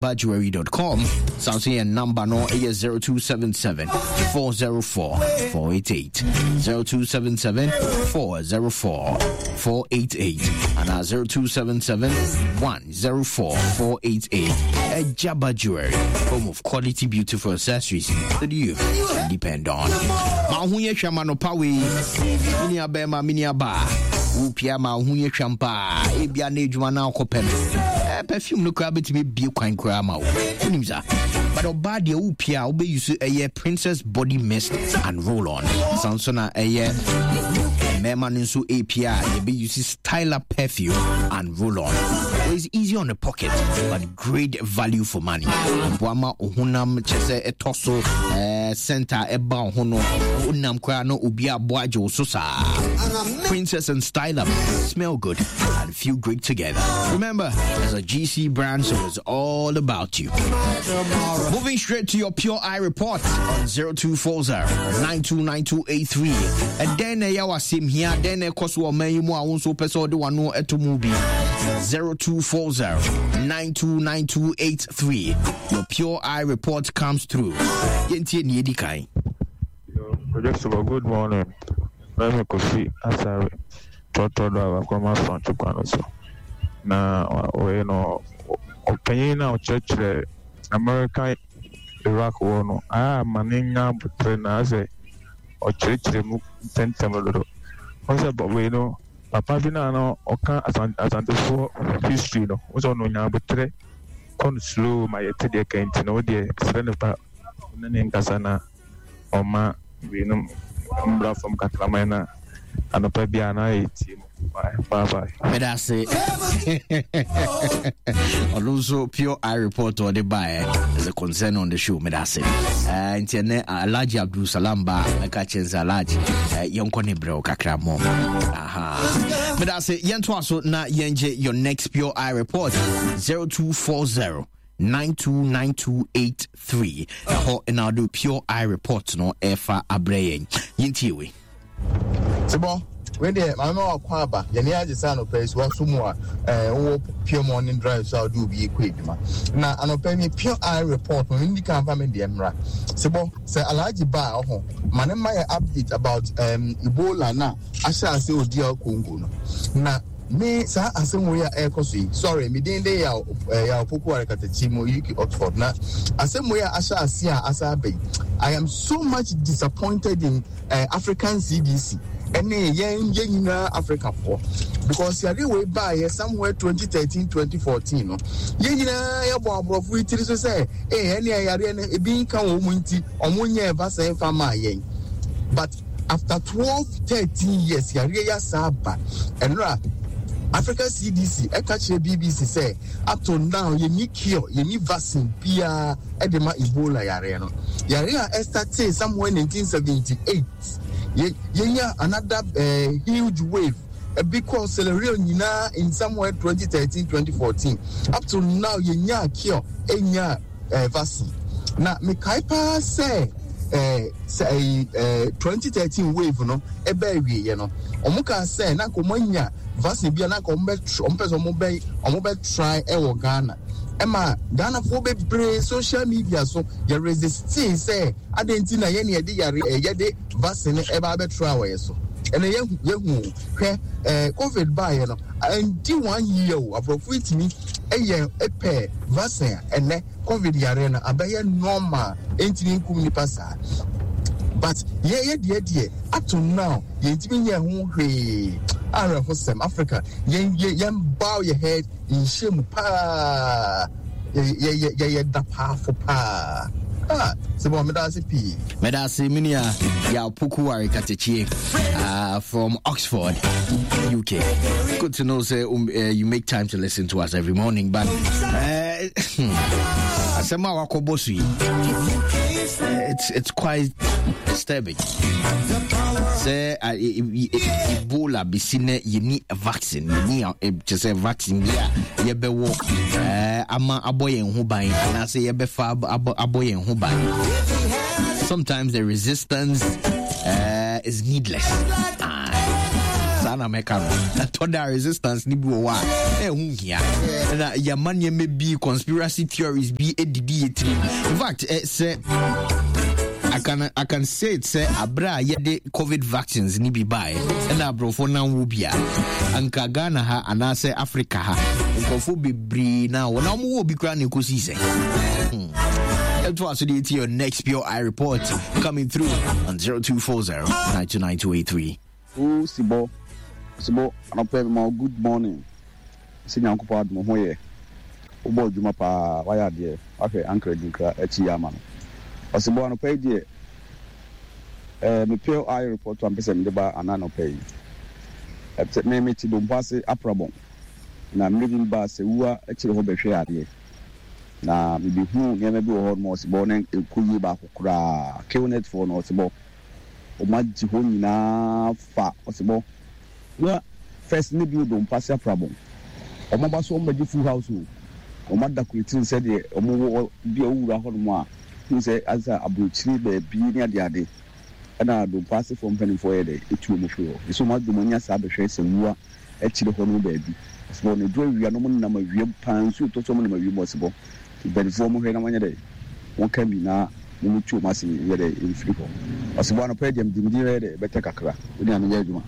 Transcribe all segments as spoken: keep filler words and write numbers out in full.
Jewelry dot com. San so yɛ number no ɛyɛ zero two seven seven four zero four four eight eight, zero two seven seven four zero four four eight eight anaa zero two seven seven one zero four four eight eight. Ejaba Jewelry, home of quality, beautiful accessories that you can depend on. Ma ho yɛ hwɛ ma no pa wei, mini abɛɛma, mini aba wopia ma ho yɛ hwam paa. Ebia na adwuma no akɔpɛ no, eh, perfume no koraa bɛtumi bie kwan koraa ma wo, wonim sa. But ɔbaa deɛ, wopia a wobɛyi so ɛyɛ Princess Body Mist and Roll On. San so na ɛyɛ mmarima no nso ɛpia a yɛbɛyi so Styler Perfume and Roll On. It's easy on the pocket but great value for money. Boa ma ohunam kyɛ sɛ ɛtɔ so eh, center ɛba wo ho no, wonam koraa na obi aboa agye wo so saa. Princess and Styler smell good and feel great together. Remember, it's a G C brand, so it's all about you. Moving straight to your Pure Eye report on zero two four zero nine two nine two eight three. And then ɛyɛ wasɛm hia then ɛkɔ so ɔman yi mu a wo nso wopɛ sɛ wode w'ano ɛto mu bi. zero two four zero nine two nine two eight three. Your Pure Eye report comes through. Yɛntie ne yɛdi kan. Yo, good morning. Mɛmi Kofi Asare, trɔtrɔ driver, Kuroma Asante kwan no so. Na ɔyɛ no ɔpanyin na ɔkyerɛkyerɛ American Iraq wɔ no a ma ne nya abotire na asɛ ɔkyerɛkyerɛ mu ntɛntɛm dodo. Wɔn sɛ wei no papa bi na no ɔka Asantefoɔ history no, wɔn sɛ ɔno nya abotire kɔ no slow ma yɛte deɛ kɛntɛ no deɛ srɛ ne pa ne ne nkasa na ɔma wei no mbra fam kakraman na anɔpa biara na ayɛ tie mu. Bye bye bye. Meda ase. Ɔno nso Pure Eye report ɔde baeɛ is a concern on the show. Meda ase. Eh, nti ɛnɛ Alhaji Abdul Salam ba mɛka kyɛn sɛ Alhaji, eh, yɛnkɔ ne berɛ wo kakra mmɔ. Aha, meda ase. Yɛntoa so na yɛngye your next Pure Eye report, zero two four zero nine two nine two eight three. Ɛhɔ ɛna wode Pure Eye report no ɛfa abrɛ yɛn. Yɛntie wei. Tibɔ wei deɛ, maame ma wakɔ aba. Yɛne agye sɛ anɔpa yi so waso mu a ɛɛ wowɔ Pure Morning Drive so a wode obi ekɔ adwuma. Na anɔpa yi mi Pure Eye report mo ndi kan fa mi deɛ mmra. Tibɔ sɛ Alhaji ba a ɔho ma ne ma yɛ update about um, Ebola na ahyɛ ase odi a Congo no. Na me saa asɛm wei a ɛrekɔ so yi, sorry, me din de Yaw eh, Yaw Poku Arekatakyi mu U K Oxford. Na asɛm wei a ahyɛ ase a asa aba yi, I am so much disappointed in uh, African C D C ɛne yɛn yɛn nyinaa Africafoɔ, because yare wei baayɛ somewhere twenty thirteen twenty fourteen no, yɛn nyinaa yɛbɔ aborɔfo yi tiri so sɛ ee ɛne yareɛ no ebi nka wɔn mu nti ɔmo nyɛ vaccine fa maa yɛn. But after twelve thirteen years, yareɛ yi asa aba. Ɛnora Africa C D C ɛka kyerɛ B B C sɛ up to now yɛni cure, yɛni vaccine biara ɛde ma Ebola yareɛ no, yareɛ a ɛstart somewhere nineteen seventy-eight. Yɛ yɛnya another uh, huge wave ebi kɔ Sierra Leone nyinaa in somewhere twenty thirteen twenty fourteen. Up to now yɛnya cure, ɛnya uh, vaccine. Na mekae paa sɛ ɛɛ sɛ ɛyi ɛɛ twenty thirteen wave no ɛbɛ awieɛ no, wɔn kaa sɛ na nka wɔn anya vaccine bi a na nka wɔn bɛ wɔn pɛ sɛ wɔn bɛ wɔn bɛ try ɛwɔ Ghana. Ɛma Ghanafoɔ bebree social media so yɛ resisting sɛ adan ti na yɛn yɛde yare ɛɛ yɛde vaccine no ɛba abɛ try wɔ yɛ so. Ɛnna yɛhu yɛhu hwɛ ɛɛ COVID baayɛ no, ɛndi one year o, aborɔfo yi tumi ɛyɛ ɛpɛ vaccine a ɛnɛ COVID yare no abɛyɛ normal, ɛntumi nkum nipa saa. But yɛyɛ deɛ deɛ up to now yɛntumi nyɛ ho hwee. Awerɛhosɛm, Africa yɛn yɛn yɛn bow yɛ head nhyɛ mu paa, yɛyɛ yɛyɛ dapaafo paa. Ah, sɛ bɔn meda ase pii. Meda ase, me nua Yaw Pokuware Katechie uh, from Oxford, U K. Good to know say um, uh, you make time to listen to us every morning. But uh, asɛm a wakɔbɔ so yi, it's it's quite disturbing. Sɛ uh, Ebola bɛsi nɛ yɛni vaccine, yɛni kyɛ sɛ vaccine bi a yɛbɛwɔ uh, ama abɔ yɛn ho ban anaasɛ yɛbɛfa abɔ abɔ yɛn ho ban. Sometimes the resistance uh, is needless. Ah. Saa na mɛka no. Ɛtɔ da resistance ni bi wɔ hɔ a ɛho hia na yɛma nneɛma bi, conspiracy theories bi edidi yɛ tirim. In fact, eh, sɛ I can, I can say it sɛ abere a yɛde COVID vaccines ni bi baeɛ ɛna aborɔfo nam wo bi a, anka Ghana ha anaasɛ Africa ha nkurɔfoɔ bebree na wɔn a wɔwɔ obi koraa na ɛkɔsii sɛ hmm. Ɛto aso deɛ, your next Pure Eye Report coming through on zero two four zero nine two nine two eight three. O Sibɔ, Sibɔ, anɔpɛ ma wo good morning. Sɛ Nyankopɔn adom ho yɛ. Wobɔ adwuma paa, wayɛ adeɛ, wahwɛ ankara dinkra akyi yɛ ama no. Ɔsibɔ, anɔpɛ yi deɛ, ɛɛ me Pure Eye Report a mpɛ sɛ mede ba ana anɔpɛ yi. Ɛsɛ me me te Dompo ase Aprabɔn. Na mmerɛ bi baa sɛ wua akyire hɔ bɛhwɛ adeɛ. Na mebɛhuu nneɛma bi wɔ hɔ nom, ɔsibɔ, na ɛnkɔ yie baako koraa. K O net foɔ no, ɔsibɔ, wɔn agye hɔ nyinaa fa, ɔsibɔ. Na first ne bi wɔ Dompo ase Aprabɔn. Wɔn aba so wɔn bɛgye full house o. Wɔn ada kuretiri sɛdeɛ wɔn wɔ bi a wowura hɔ nom a hu sɛ asa aburokyire baabi ne adeade, ɛna Dompo asefoɔ mpanimfoɔ yɛ dɛ etu wɔn firi hɔ. Esi wɔn adi wɔn ani asa abɛhwɛ sɛ wua akyire hɔ nom baabi. Ɔsibɔ, na eduru awia no, wɔn nenam awia mu paa, nsuo tɔ so, wɔn nenam awia mu. Ɔsibɔ, mpanimfoɔ, wɔn hwɛ na wɔnyɛ dɛ wɔn ka bi na wɔn tu wɔn ase yɛ dɛ mfiri hɔ. Ɔsibɔ, anɔpa yi deɛ, mede me din bɛyɛ dɛ bɛtɛ kakra wɔn nyinaa menyɛ adwuma.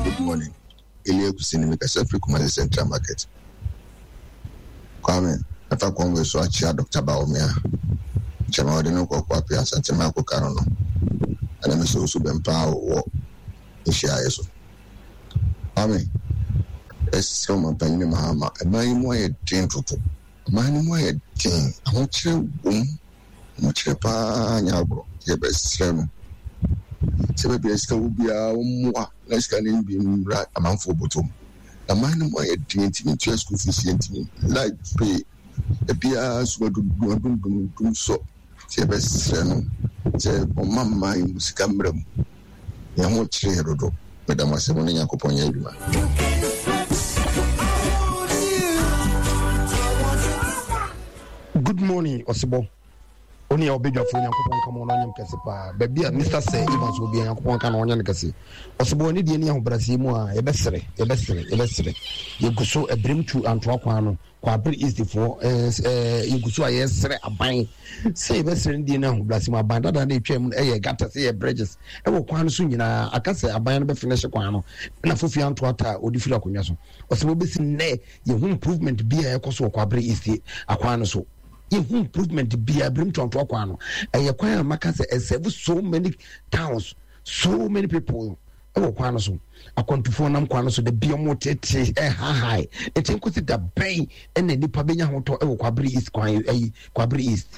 Good morning. Elia Kusini, mekasa firi Kumasi Central Market. Kwame, ɛfa kwan so akyia Doctor Bawumia. Nkyɛn a wɔde no kɔ Kwapea Asantema akɔka no no. Ɛna me sɛ osu bɛmpa wɔ nhyiaeɛ so. Kwame, ɛsrɛ ɔmampanyin Mahama, ɛman yi mu ayɛ den toto. Ɔman no mu ayɛ den, ahokyerɛ wom, ahokyerɛ paa nyɛ agorɔ. Yɛbɛsrɛ no sɛ baabi a sika wɔ biara ɔmmoa na sika no bi mmra amanfoɔ bɔtɔ mu. Na man no mu ayɛ den, ntumi ntua school fees, yɛntumi light pay ebiara so adundum adundum dum sɔ. Nti yɛbɛsrɛ no sɛ ɔma mman mu sika mmra mu. Yɛn ho kyerɛ yɛ dodo. Meda mo ase, mo ne Nyankopɔn nyɛ adwuma. Good morning, Ɔsebɔ. Wo ne a wobɛdwafoɔ, Nyankopɔn nka ma ɔno ɔnyɛ kɛse paa. Baabi a Mister Sir Evans wɔ bia, Nyankopɔn nka na ɔnyɛ no kɛse. Ɔsebɔ, ne deɛ ne ahobrɛaseɛ mu a yɛbɛsrɛ, yɛbɛsrɛ, yɛbɛsrɛ. Yɛgu so ɛberɛm tu Antoa kwan no, Kwabere Eastfoɔ, yɛgu so a yɛsrɛ aban sɛ yɛbɛsrɛ no deɛ ne ahobrɛaseɛ mu. Aban dada no ɛtwa mu no, ɛyɛ gutters, ɛyɛ bridges ɛwɔ kwan no so nyinaa. Aka sɛ aban no bɛfinish kwan no na fofi Antoa ta a ɔde firi akonnwa so. Ɔsebɔ, bɛsi nnɛ yɛhu improvement bi a ɛkɔ so wɔ Kwabere East akwan no so. Yɛhu improvement biara birim toantoa kwan no. Ɛyɛ kwan a maka sɛ ɛserve so many towns, so many people ɛwɔ kwan no so. Akwantufoɔ nam kwan no so da bi, ɔmo tete ɛhahae. Nti nkosi da bɛn ɛna nipa bɛnya ahotɔ ɛwɔ Kwabere East kwan ɛyi, Kwabere East?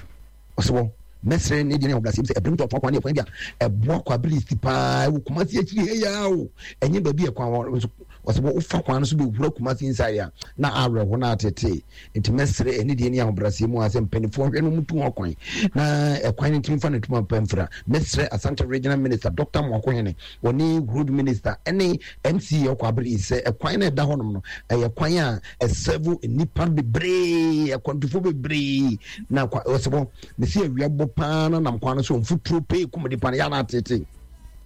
Ɔsɛ mɛsrɛ ne deɛ ne ahobrɛaseɛ mu sɛ ɛbirim toantoa kwan ne ɛkwan bi a ɛboa Kwabere East paa. Ɛwɔ Kumasi akyiri ha yi o, ɛnyɛ baabi ɛkwan wɔ nso. Ɔsɛ wofa kwan no so bɛwura Kumasi inside a, na awerɛho na atete. Nti mɛsrɛ ɛne deɛ ne ahobrɛaseɛ mu a sɛ mpanimfoɔ hwɛ no mu tu ho kwan na ɛkwan no ntumi fa no tuma pɛ mfra. Mɛsrɛ Asante Regional Minister Doctor Moakohene, wɔne Road Minister ɛne M C E Ɔkɔ Abere sɛ ɛkwan no ɛda hɔnom no, ɛyɛ kwan a ɛserve nnipa bebree, akwantufoɔ bebree. Na ɔsɛ bɔ mesi awia bɔ paa na nam kwan no so, mfuturo pee kum nipa no, yana atete,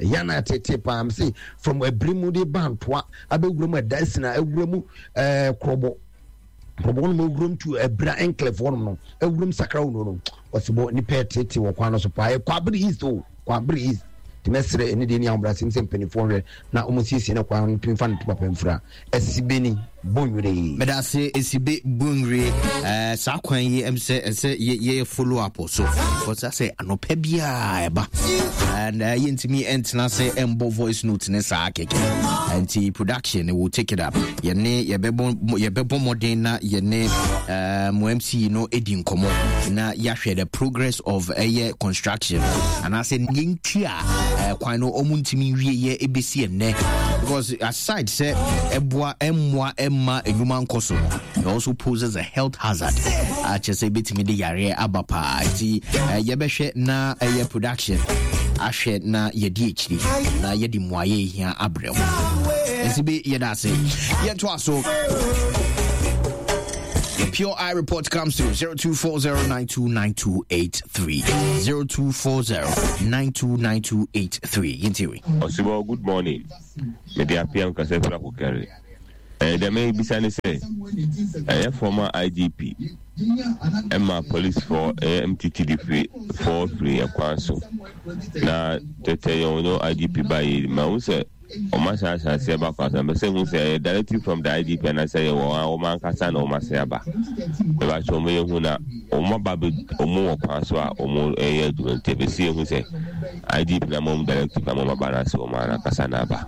yana atete paa. Mesi from abiri mu de ba Ntoa abɛwura mu ɛda sina awura mu ɛɛ Korɔbɔ Korɔbɔ no mu awuram tu Abira Enclave hɔnom no, awuram Sakra wo no no ɔsɛ nipa ɛtete wɔ kwan no so paa. Ɛkɔ Abere East o, kɔ Abere East. Nti mɛsrɛ ɛne deɛ ni ahobrɛasɛm sɛ mpanimfoɔ hwɛ na wɔn siesie ne kwan no ntumi fa ne to papa mfira. Ɛsibe ni Bonwire. Meda ase, Esibe Bonwire. ɛɛ saa kwan yi ɛm sɛ ɛsɛ yɛ yɛ follow up so because sɛ anɔpɛ biara ɛba and uh, yɛntumi ɛntena sɛ ɛmbɔ voice note ne saa kɛkɛ, nti production will take it up. Yɛne yɛbɛbɔ yɛbɛbɔ mmɔden na yɛne uh, mo M C no ɛdi nkɔmmɔ na yɛahwɛ the progress of ɛyɛ construction anaasɛ yɛnti a uh, kwan no ɔmo ntumi nwieyɛ ɛbɛsi ɛnnɛ, because aside sɛ ɛboa ɛmmoa ɛmma enwuma nkɔ so no, it also poses a health hazard a kyerɛ sɛ ɛbɛtumi de yareɛ aba paa. Nti uh, yɛbɛhwɛ na ɛyɛ production ahwɛ na yɛdi akyiri na yɛde mmuayɛ hia abrɛ mu. Nti bi yɛda ase, yɛntoa so. Pure Eye Report comes through zero two four zero nine two nine two eight three zero two four zero nine two nine two eight three. Yintiwi. Osibo, good morning. Me dey appear nkasa fira kokere. Eh, dem bisa ne say eh former I G P Emma police for M T T D free for free ekwanso. Na tete yon no I G P by ma who say o ma sha sha se ba kwa so say who say directive from the I G P and I say o ma nkasa na o ma se aba. E ba cho mo yehu na o ma ba be o mo kwan so a o mo eh adwuma nti be see who say I G P na mo directive na mo ba na se o ma na kasa na ba.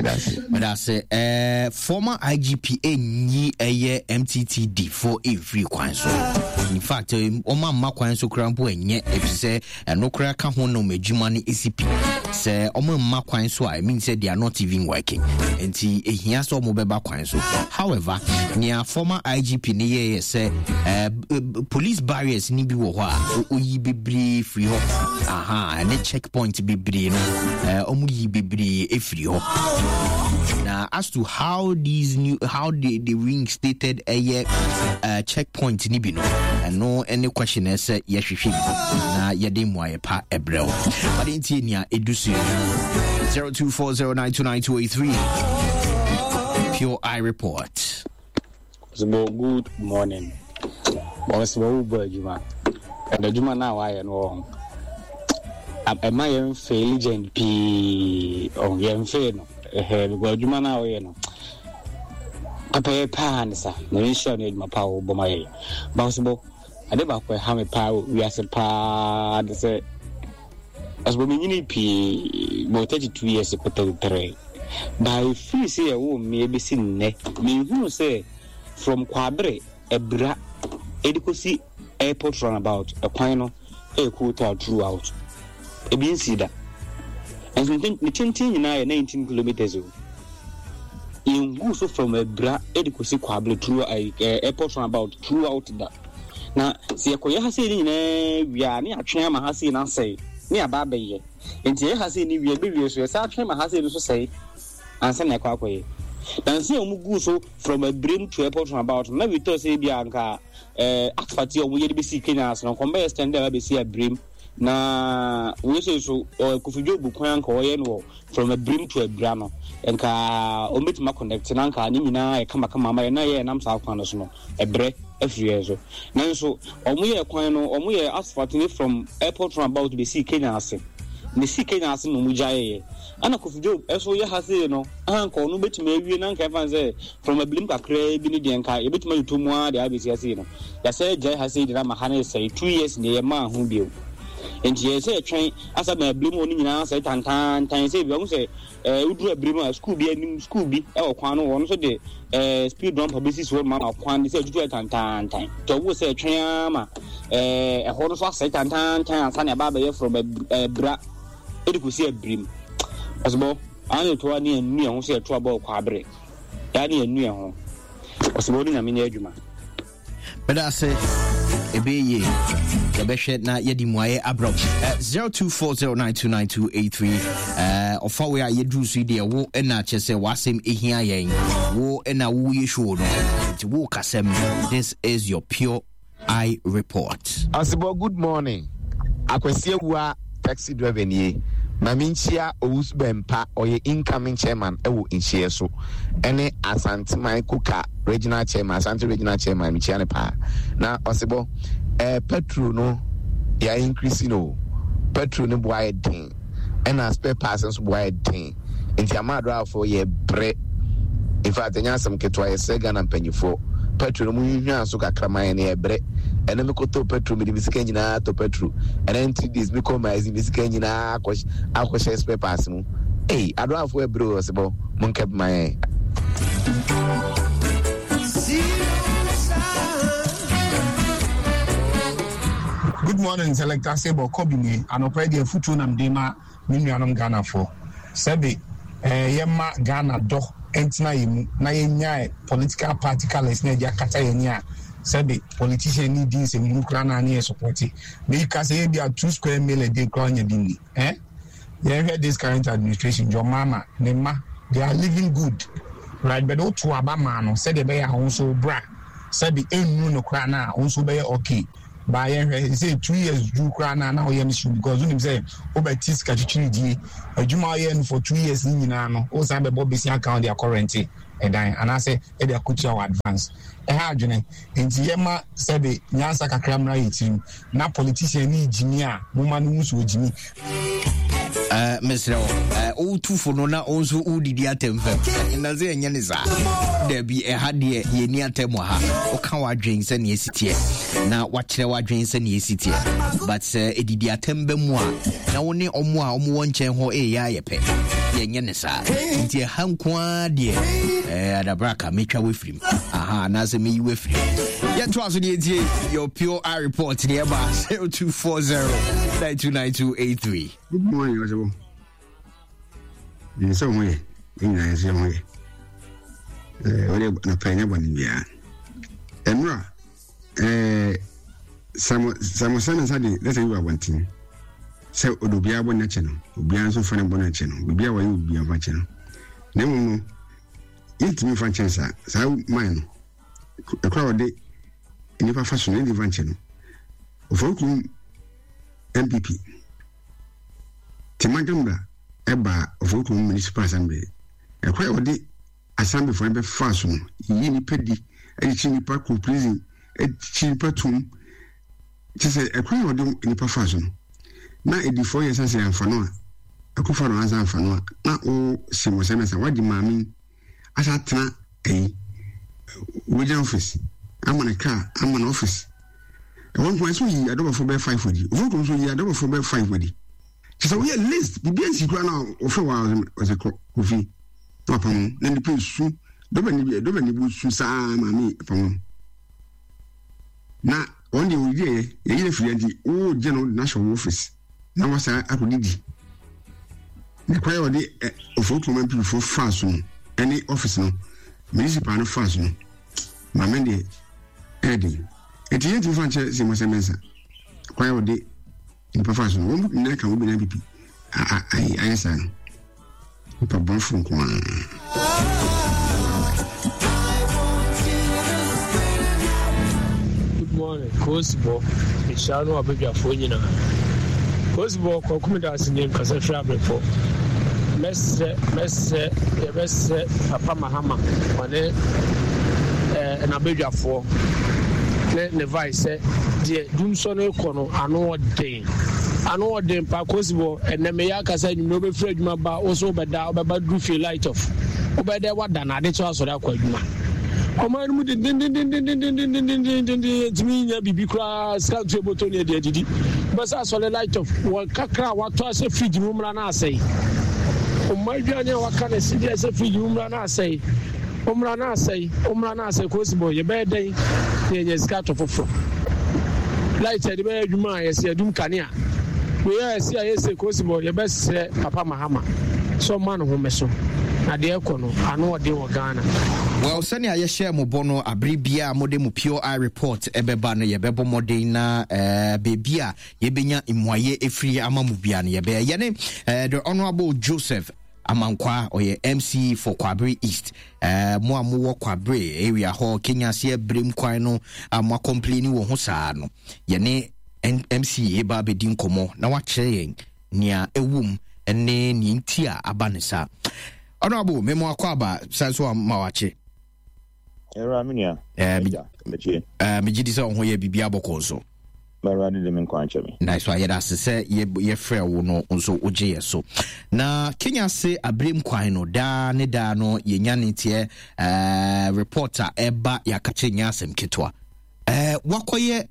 That's it. That's it. Eh former I G P enyi eye M T T D for every kwan so. In fact, o ma ma kwan so kra mpo enye efise eno kra ka ho no madwuma ne E C P. Se o ma ma kwan so I mean say they are not even working. Enti ehia so mo beba kwan so. However, near former I G P ne ye say eh police barriers ni bi wo ho a oyi bebre free ho. Aha, ne checkpoint bebre no. Eh omu yi bebre efri ho. Now, as to how these new how they, they reinstated a uh, checkpoint ni bi no, and no any question is yes she na yede mu pa ebrel. But inti nia edusu zero two four zero nine two nine two eight three. Pure Eye Report. So good morning. Boss wo bo adwuma. And adwuma na wa ye no. Am I am fail P on yem fail no. Eh because adwuma na wo ye no. Papa pa ne sa. Na nsha na adwuma pa wo bo ma ye. Boss bo ade ba ko ha me pa we ase pa de say as we menyini pii mo thirty-two years ko thirty-three by free say wo me be si nne me hu say from Kwabre Ebra edikosi airport runabout ekwan no e ko to throughout e bi nsi da and me tintin nyina ye nineteen kilometers o in so from Ebra edikosi Kwabre through airport runabout throughout that na se ekoye ha say nyina wi a ne atwe ama ha say na say ni aba be enti e ha say ni wie be wie so e sa atwe ma ha say no so say ansa na ekwa akoye dan say omu gu so from a brain to airport about na we talk say bia nka eh asfalt omu ye be si Kenya so no kombe extend ba be si a brain na we say so Kofi bu kwan nka oye no from a brain to a bra no nka ometima connect na nka ni nyina e kama kama ma na ye nam sa kwan no so no ebre afiri so nanso omu ye kwan no omu ye asphalt ni from airport roundabout be si Kenya ase ne si Kenya ase no mu gyae ana Kofi Job eso ye ha se no anka ono betumi awie na nka fan say from a blim kakra bi ni de nka ebetumi atutu mu a de abesi ase no ya say gyae ha se de na ma ha ne say two years ne ye ma ho bio enti ye say twen asa ma blim oni nyina say tantan tan say bi o say eh udru abrim a school bi anim school bi e wo kwan no won so de eh speed dump basis wo ma kwan de say tutu tantan tan to wo say twen ama eh e ho no so asay tantan tan ansa na ba ba ye from bra e de kusi abrim osbo an to ani anu ho say to aba kwa abre ya ni anu ho osbo ni na me adwuma but I say ebe ye yɛbɛhwɛ na yɛde mmuayɛ abrɔ zero two four zero nine two nine two eight three eh ɔfa we a yɛduru so deɛ wo ɛna kyɛ sɛ w'asɛm ehia yɛn wo ɛna wo yɛ show no nti wo kasɛm. This is your Pure Eye Report. Asibo, good morning. Akwasi Awua taxi driver nie. Mami nchia Owusu Bempa oye incoming chairman ewo nchie so. Ene Asanteman Kuka regional chairman, Asante regional chairman michia ne pa. Na Osibo eh petrol no ya increase no. Petrol no boy den. Ena spare parts nso boy den. Nti amadra for ye bre. In fact, enya asem ketwa ye sega na mpanyifo. Petrol no mu hwehwa so kakra man ne ye bre. Ene me koto petrol me de misika nyina to petrol. And then three days me come as misika nyina akwa akwa spare parts mu. Hey, adra for bro Osibo mun kep man. Good morning, Selector Sebo Kobine, and operate futu nam dema minuanum Ghana for. Sebi, eh, yema Ghana do entina yemu na yenya political party colors na yakata yenya. Sebi, politician ni din se mukra na na support. Me ka say bi a two square mil a day crown ya bi eh? You hear this current administration, your mama, nema, they are living good. Right, but otu aba ma no, said they be ahun so bra. Sɛbi ɛnnu no koraa no a wo nso wobɛyɛ okay. Ba yɛnhwɛ sɛ two years duru koraa no a na woyɛ no hyew because wonim sɛ wobɛte sika twitwiridie. Adwuma a woyɛ no for two years no nyinaa no, wosan bɛbɔ bɛsi account de akɔ rente ɛdan anaasɛ ɛde akɔtua wɔ advance. Ɛha adwene. Nti yɛma sɛbi nyansa kakra mmra yɛ tirim na politician ne gyimi a moma no hu so ɔgyimi. Uh, mesrɛ wo wotufo no na wo nso wodidi atɛm fam na sɛ ɛnyɛ ne saa dabi ɛha deɛ yɛni atɛm wɔ ha woka w'adwen sɛneɛ ɛsi teɛ na wakyerɛ w'adwen sɛneɛ ɛsi teɛ but sɛ ɛdidi atɛm ba mu a na wo ne ɔmo a ɔmo wɔ nkyɛn hɔ ɛyɛ ayɛ pɛ yɛnyɛ ne saa nti ɛha nko ara deɛ eh, adabraka metwa wafirim aha anaasɛ meyi wafirim yɛntoa so deɛ ɛtie your pure I report deɛ ɛba zero two four zero nine two nine two eight three. Good morning, Ɔsɛbɔ. Nsɛ ho yɛ, ne nyinaa nsɛ ho yɛ. Ɛɛ ɔde nɔpɛ nyɛ bɔne biara. Ɛnura ɛɛ Samuel Samuel nsa de lɛtɛ bi wɔ abɔnten sɛ ɔde obiara bɔ n'akyɛ no, obiara nso fa ne bɔ n'akyɛ no, biribi a wɔyɛ obiara fa kyɛ no. Na mmom no, yɛntumi mfa nkyɛn saa saa man no. Ɛkora a ɔde nnipa fa so no, yɛntumi mfa nkyɛn no. Oforikrom N P P Tema Gambra ɛbaa Oforikrom Municipal Assembly. Ɛkwan a wɔde assemblyfoɔ no bɛfaa so no, yiyi nnipa di, akyekye nnipa kɔ prison, akyekye nnipa tom. Kyɛ sɛ ɛkwan a wɔde nnipa faa so no, na edifoɔ yɛ sɛ sɛ amfa no a, akufo no ansa amfa no a, na wo si mo sɛ mɛsa wagye maame asa atena ayi regional office ama ne car ama ne office. Ɛwɔ nko ɛsɛ oyi adɔbɔfo bɛyɛ five adi. Oforikrom nso oyi adɔbɔfo bɛyɛ five adi. Kyɛ sɛ woyɛ list biribi ansi koraa na wɔfrɛ wɔ a ɔsɛ kɔ kofi na wapam na nipa esu dɔbɛ ni dɔbɛ ni bu su saa maame apam na wɔn deɛ wɔdidi yɛ yɛyi na firi nti wogye no na hyɛ wɔ office na wasa akɔdidi na kwan a wɔde Oforikrom mpifoɔ faa so no ɛne office no municipal no faa so no maame deɛ ɛyɛ den. Eti yɛntumi fa nkyerɛ sɛ mɔsɛ mɛnsa kwan a wɔde nipa fa so no wɔn nyinaa ka wɔn nyinaa pipi ayɛ saa no nipa bɔnfo nko ara. Good morning, Kosibɔ mehyia no abadwafoɔ nyinaa. Kosibɔ kɔkumi da ase nie nkasa firi abrɛfo. Mɛsrɛ mɛsrɛ yɛbɛsrɛ Papa Mahama ɔne ɛɛ n'abadwafoɔ ne ne vice sɛ deɛ dumsɔ no kɔ no ano ɔden ano ɔden pa Kosibɔ ɛnɛ meyɛ akasa enyimire wobɛfiri adwuma ba wo so wobɛda wobɛba duru fie light off wobɛdɛ wada na ade kyɛ asɔre akɔ adwuma ɔman no mu dendendendendendendendendenden ntumi nya biribi koraa sika ntu eboto ne ɛde adidi bɛsɛ asɔre light off wɔ kakra a watɔ ahyɛ fridge mu mmra na asɛe ɔma aduane a waka na si de ahyɛ fridge mu mmra na asɛe ɔmmra na asɛe ɔmmra na asɛe Kosibɔ yɛbɛyɛ dɛn na yɛnya sika atɔ foforɔ light yɛde bɛyɛ adwuma a yɛsɛ yɛdum kanea wei a yɛsi a yɛsɛ Kosibɔ yɛbɛsrɛ Papa Mahama sɛ ɔma ne ho so na deɛ ɛkɔ no ano ɔden wɔ Ghana. Well, sɛnea yɛhyɛ mo bɔ no abere biara mode mo pure eye report ɛbɛba no yɛbɛbɔ mmɔden na uh, beebi a yɛbɛnya mmuayɛ ɛfiri ama mo bia no yɛbɛyɛ yɛne uh, the Honorable Joseph Amankwa ɔyɛ M C for Kwabre East. Uh, mo a mowɔ Kwabre area hɔ Kenya aseɛ berem kwan no a mo akɔmpleni wɔ ho saa no yɛne M C eba abɛdi nkɔmmɔ na wakyerɛ yɛn nea ɛwom ne nea nti a aba ne saa. Honorable, me mo akɔ aba san so ma wakye. Era me nua. Eh, me gye di sɛ wo ho yɛ biribi abɔkɔ nso. Mɛwurade de me nkwa nkyɛ me. Na so ayɛ ase sɛ yɛfrɛ wo no nso wogye yɛ so. Na Kenya se aberem kwan no daa ne daa no yɛnya ne teɛ eh, report a ɛba yɛaka kyerɛ nya asɛm ketewa. Eh, wakɔyɛ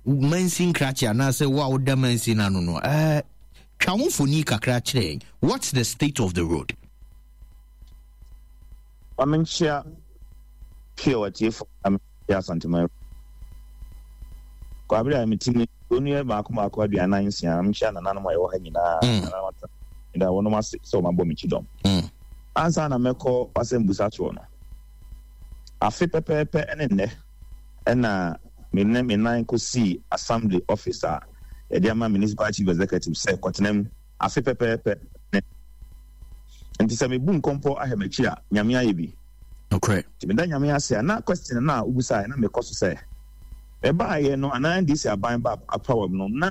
mansi nkrakye anaasɛ wo a woda mansi no ano no eh, twa wo mfoni kakra kyerɛ yɛn. What's the state of the road? Wamenkyia pure atiefo na mekyia Asantema. Kwabere a metimi onua baako baako aduanan nsia mekyia nananom a ɛwɔ ha nyinaa nananom atena da wɔnom ase sɛ wɔabɔ me kyidɔm. Ansa na mɛkɔ asɛmbusa soɔ no, afe pɛpɛɛpɛ ne nnɛ ɛna me ne me nan kɔsii assembly office a yɛde ama municipal chief executive sɛ kɔtena mu afe pɛpɛɛpɛ ne. Nti sɛ mebu nkɔmpɔ ahɛ m'akyi a Nyame ayɛ bi. Okay. Nti meda Nyame ase a na question no a wobusaeɛ na mekɔ so sɛ ɛbaayɛ no anaa N D C aban ba power mu no na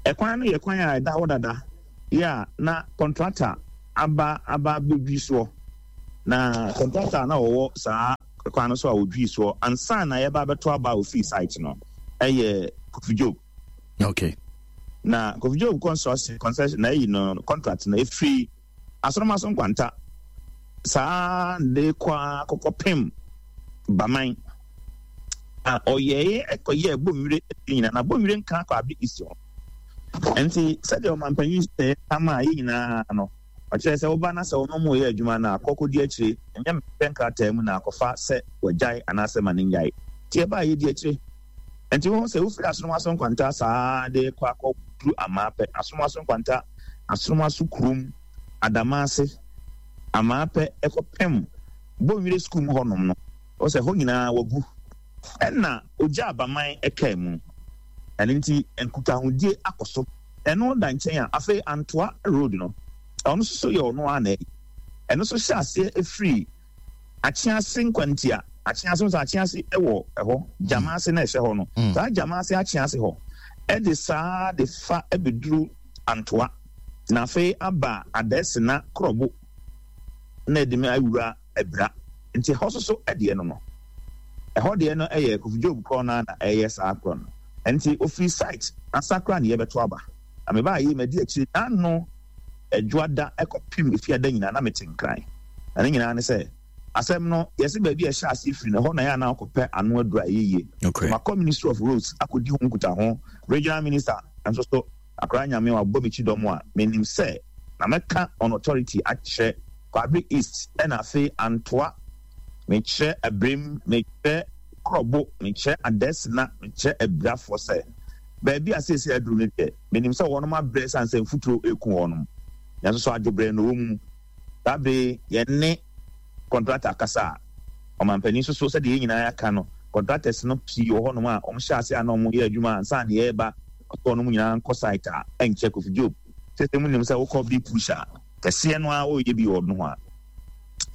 ɛkwan no yɛ kwan a ɛda hɔ dada yɛ a na contractor aba aba bɛdwi soɔ na contractor na ɔwɔ saa kwan no so a ɔdwi soɔ ansa na yɛba bɛto aba ofii site no ɛyɛ Kofi Job. Okay. Na Kofi Job construction concession na ɛyi no contract no ɛfiri Asorɔmaso Nkwanta saa de kɔ akɔkɔpem Baman na ɔyɛɛ ɛkɔyɛ Bonwire nyinaa na Bonwire nka akɔ Abe East hɔ. Nti sɛdeɛ ɔmampanyin sɛ ama yɛ nyinaa no ɔkyerɛ sɛ woba na sɛ ɔno mu yɛ adwuma no akɔkɔdi akyire ɛnyɛ mepɛ nkrataa mu na akɔfa sɛ wagyae anaasɛ ma ne nyae. Nti ɛbaa yɛdi akyire. Nti wohu sɛ wofiri Asorɔmaso Nkwanta saa de kɔ akɔduru Amaapɛ, Asorɔmaso Nkwanta, Asorɔmaso kurom, Adamase, Amaapɛ ɛkɔpem Bonwire sukuu mu hɔnom no ɔsɛ hɔ nyinaa wagu ɛna ogya Abaman ɛkaa mu. Ɛno nti nkutahodie akɔ so. Ɛno da nkyɛn a afei Antoa road no ɔno nso so yɛ ɔno ara na ɛyɛ. Ɛno nso hyɛ aseɛ ɛfiri Akyease Nkwantia, Akyease nso Akyease ɛwɔ ɛhɔ, Gyamaase na ɛhyɛ hɔ no. Saa Gyamaase Akyease hɔ ɛde saa de fa ɛbɛduru Antoa na afei aba Adɛsena Korɔbo na ɛde me awura Abira. Nti ɛhɔ nso so ɛdeɛ no no. Ɛhɔ deɛ no ɛyɛ Kofi Job korɔ no na ɛyɛ saa korɔ no. Nti ofiri site asakra ne yɛbɛto aba. Na mebaa yi madi akyire n'ano adwoada ɛkɔpem efiada nyinaa na mete Nkran. Na ne nyinaa ne sɛ asɛm no yɛsɛ baabi a ɛhyɛ ase firi no ɛhɔ na yɛ anaa akɔpɛ ano aduru a ɛyɛ yie. Okay. Makɔ Ministry of Roads akɔdi ho nkuta ho. Regional Minister nso so akora Nyame wabɔ me kyidɔm a menim sɛ na mɛka on authority akyerɛ Kwabre East ɛna afei Antoa, mekyerɛ Abirem, mekyerɛ Korɔbo, mekyerɛ Adɛsena, mekyerɛ Abirafoɔ sɛ baabi a seesei aduru no deɛ menim sɛ wɔnom abrɛ sane sɛ mfuturo eku wɔnom. Nanso so adwobrɛ no wɔ mu. Saa bere yɛne contractor kasa a ɔmampanin nso so sɛdeɛ yɛn nyinaa aka no contractors no pii wɔ hɔnom a wɔn hyɛ ase a na wɔn yɛ adwuma ansa na yɛreba ɔtɔ wɔn nyinaa nkɔ site a ɛnkyɛ Kofi Job sɛsɛ mu nim sɛ wokɔ big push a kɛseɛ no a wɔreyɛ bi wɔ no ho a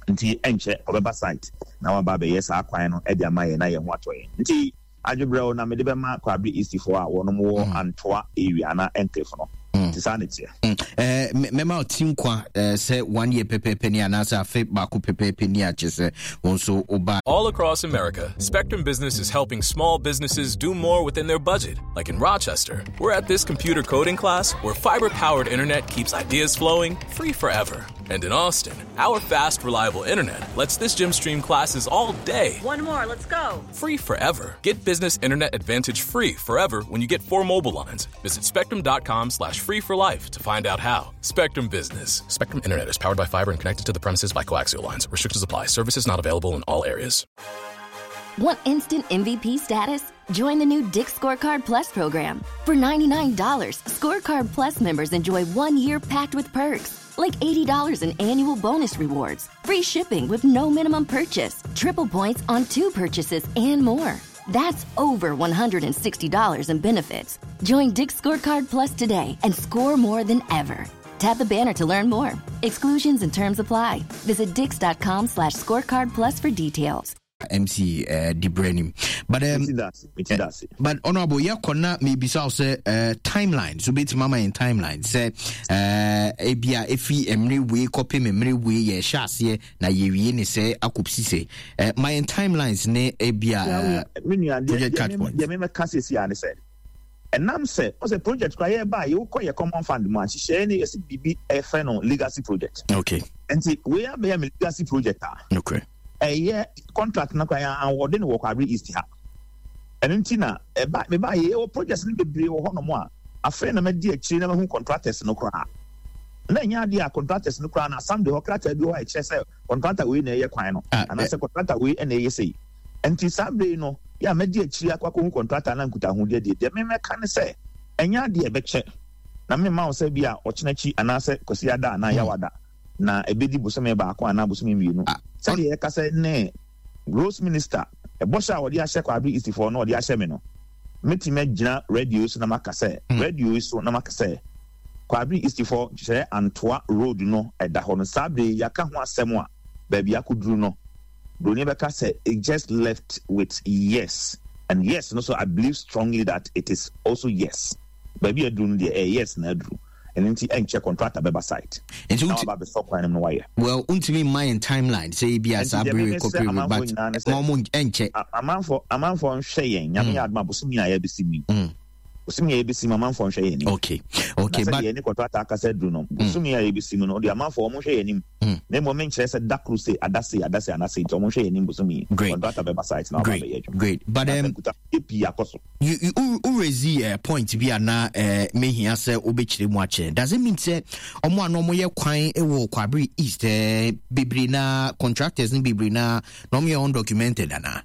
nti ɛnkyɛ ɔbɛba site na waba abɛyɛ saa kwan no ɛde ama yɛn na yɛn ho atɔ yɛn. Nti adwobrɛw na mede bɛma Kwabre East foɔ a wɔnom wɔ Antoa area ana enclave no. Nti saa ne teɛ. Eh, mɛma ɔti nkwa sɛ one year pɛpɛɛpɛ ni anaasɛ afe baako pɛpɛɛpɛ ni akyɛ sɛ wo nso woba. All across America, Spectrum Business is helping small businesses do more within their budget. Like in Rochester, we're at this computer coding class where fiber-powered internet keeps ideas flowing free forever. And in Austin, our fast, reliable internet lets this gym stream classes all day. One more, let's go. Free forever. Get business internet advantage free forever when you get four mobile lines. Visit spectrum.com slash free for life to find out how. Spectrum Business. Spectrum Internet is powered by fiber and connected to the premises by coaxial lines. Restrictions apply. Services not available in all areas. Want instant M V P status? Join the new Dick's Scorecard Plus program. For ninety-nine dollars, Scorecard Plus members enjoy one year packed with perks, like eighty dollars in annual bonus rewards, free shipping with no minimum purchase, triple points on two purchases, and more. That's over one hundred sixty dollars in benefits. Join Dick's Scorecard Plus today and score more than ever. Tap the banner to learn more. Exclusions and terms apply. Visit dicks.com slash scorecard plus for details. M C uh, Dibrenim. But um, uh, but honorable, yeah, kona maybe so say uh, timeline. So bit mama in timeline. Say uh, ebia efi emre we copy memory we ye shas na ye we ne say akopsi say uh, my timelines ne ebia uh, project catch point. Yeah, me ka say si ane say. And nam say o say project kwa ye ba ye ko ye common fund mu a hye ne ye bibi e fe no legacy project. Okay. And we are be legacy project. Okay. A contract na kwa award no Kwabre East ha. Eno nti na e ba me ba ye o projects no bebre wo ho no mo a afa na ma di akiri na ma hu contractors no kra. Na nya ade a contractors no kra na assembly ho krataa bi ho a che se contractor we na ye kwan no ana se contractor we na ye sei. Enti assembly no ya ma di akiri akwa ko hu contractor na nkuta hu de de me me ka ne se enya ade e be che na me ma wo se bi a ochenachi ana se kwasi ada na yawada na ebedi bosome baako ana bosome mienu. Sɛ yɛ kasa ne Rose Minister ɛbɔhyɛ a wɔde ahyɛ Kwabre East for no wɔde ahyɛ me no metumi gyina radio so na maka sɛ radio so na maka sɛ Kwabre East for kyerɛ Antoa road no ɛda hɔ no saa bere yɛaka ho asɛm a baabi akɔduru no Broni bɛka sɛ it just left with yes and yes no, so I believe strongly that it is also yes. Baabi aduru no deɛ, ɛyɛ yes na aduru. Ɛno nti ɛnkyɛ contractor bɛba site nti na waba abɛsɔ kwan no mu na wayɛ. Well, wontumi mma yɛn timeline sɛ ebi a saa Nti deɛ bere meme kɔ srɛ period amanfoɔ but nyinaa ne sɛ ma ɔmo ɛnkyɛ. a- amanfoɔ amanfoɔ nhwɛ yɛn. Nyame yɛ adom a, bosome a yɛbɛsi mu yi, bosome a yɛbɛsi mu, amanfoɔ nhwɛ yɛn anim. Okay okay na but sɛdeɛ yɛne contractor akasa aduru no, bosome a yɛbɛsi mu no deɛ, amanfoɔ ɔmo nhwɛ yɛn anim, na mmom menkyerɛ sɛ da koro se ada se ada se ana se. Nti ɔmo nhwɛ yɛn anim bosome yi, Great. contractor bɛba site na waba Great. abɛyɛ adwuma. Great, but Na um, sɛ nkuta pii akɔ so. you you wo raise uh, point bi a na uh, mehia sɛ wobɛkyerɛ mu akyerɛ. Does it mean sɛ ɔmo a na ɔmoyɛ kwan wɔ Kwabere East uh, bebree na contractors no bebree na na ɔmoyɛ undocumented anaa?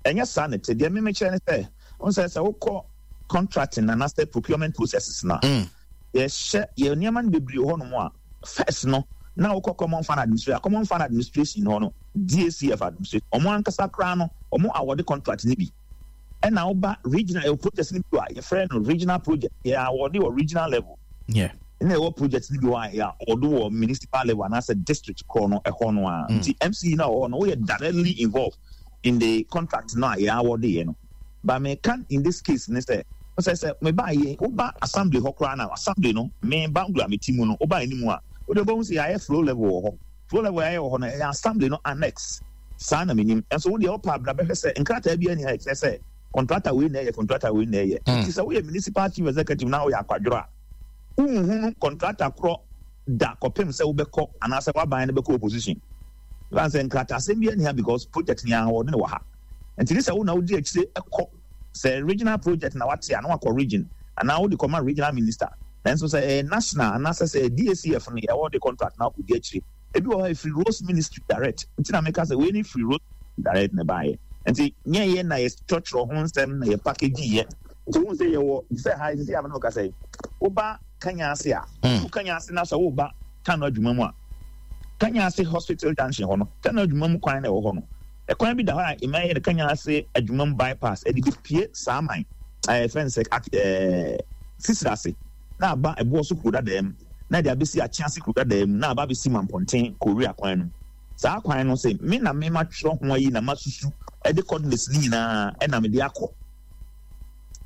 Ɛnyɛ saa ne te. Deɛ memekyerɛ ne sɛ wo sɛ sɛ wokɔ contracting anaasɛ procurement processes no a, Mm. yɛhyɛ yɛ nneɛma no bebree wɔ hɔnom a, first no na wokɔ Common Fund Administration, Common Fund Administration hɔ no, D A C F administration, ɔmo ankasa koraa no ɔmo awɔde contract no bi. Ɛna woba regional, ɛwɔ project no bi wɔ a yɛfrɛ no regional project, yɛ awɔde wɔ regional level. Yeah ɛna ɛwɔ project no bi wɔ a yɛ ɔdo wɔ municipal level anaasɛ district korɔ no ɛhɔ no a. Nti M C no a ɔwɔ hɔ no, woyɛ directly involved in the contract no a yɛ awɔde yɛ no. But meka in this case ne sɛ sɛ sɛ meba yɛ woba assembly hɔ koraa na assembly no, me banglo a meti mu no, woba anim a, wode wobɛhu sɛ yɛayɛ flow level wɔ hɔ. Flow level yɛayɛ wɔ hɔ no, ɛyɛ assembly no annex saa na menim. Ɛnso wodeɛ wopɛ abra bɛhwɛ sɛ nkrataa bi ani ha ɛkyerɛ sɛ contractor wei na ɛyɛ, contractor wei na ɛyɛ. Nti sɛ woyɛ municipal chief executive na woyɛ akwadworɔ a, wonhunu contractor korɔ da kɔpem sɛ wobɛkɔ anaasɛ woaban no bɛkɔ opposition fan sɛ nkrataasɛm bi ani ha, because project ni ahoɔden wɔ ha. Nti ne sɛ wo na wodi akyire ɛkɔ sɛ regional project na wate a, na wakɔ region anaa wode kɔma regional minister. Nanso sɛ ɛyɛ national anaasɛ sɛ D A C F no yɛwɔ de contract na wakɔdi akyire, ebi wɔ hɔ ɛfiri Roads Ministry direct. Nti na meka sɛ wei ne firi Roads direct ne baayɛ. Nti nyɛ yɛ na yɛtwerɛtwerɛ ho nsɛm na yɛ package yɛ. Nti wohu sɛ yɛwɔ sɛ ha sisi a mene wo kasa yi, woba Kanya ase a, wo Kanya ase na sɛ woba Tano adwuma mu a, Kanya ase hospital junction hɔ no, Tano adwuma mu kwan na ɛwɔ hɔ no, ɛkwan bi da hɔ a ɛma yɛ no Kanya ase adwuma mu bypass, ɛde bepie saa man ɛɛ fɛn sɛ ɛɛ Sisira ase na aba ɛboɔ so kuro dadaa mu na ɛde abɛsi Akyease kuro dadaa mu na aba abɛsi Mampɔnten Korea kwan no. Saa kwan no sɛ me na me ma twerɛ ho ayi na ma susu ɛde coordinates ne nyinaa ɛna me de akɔ.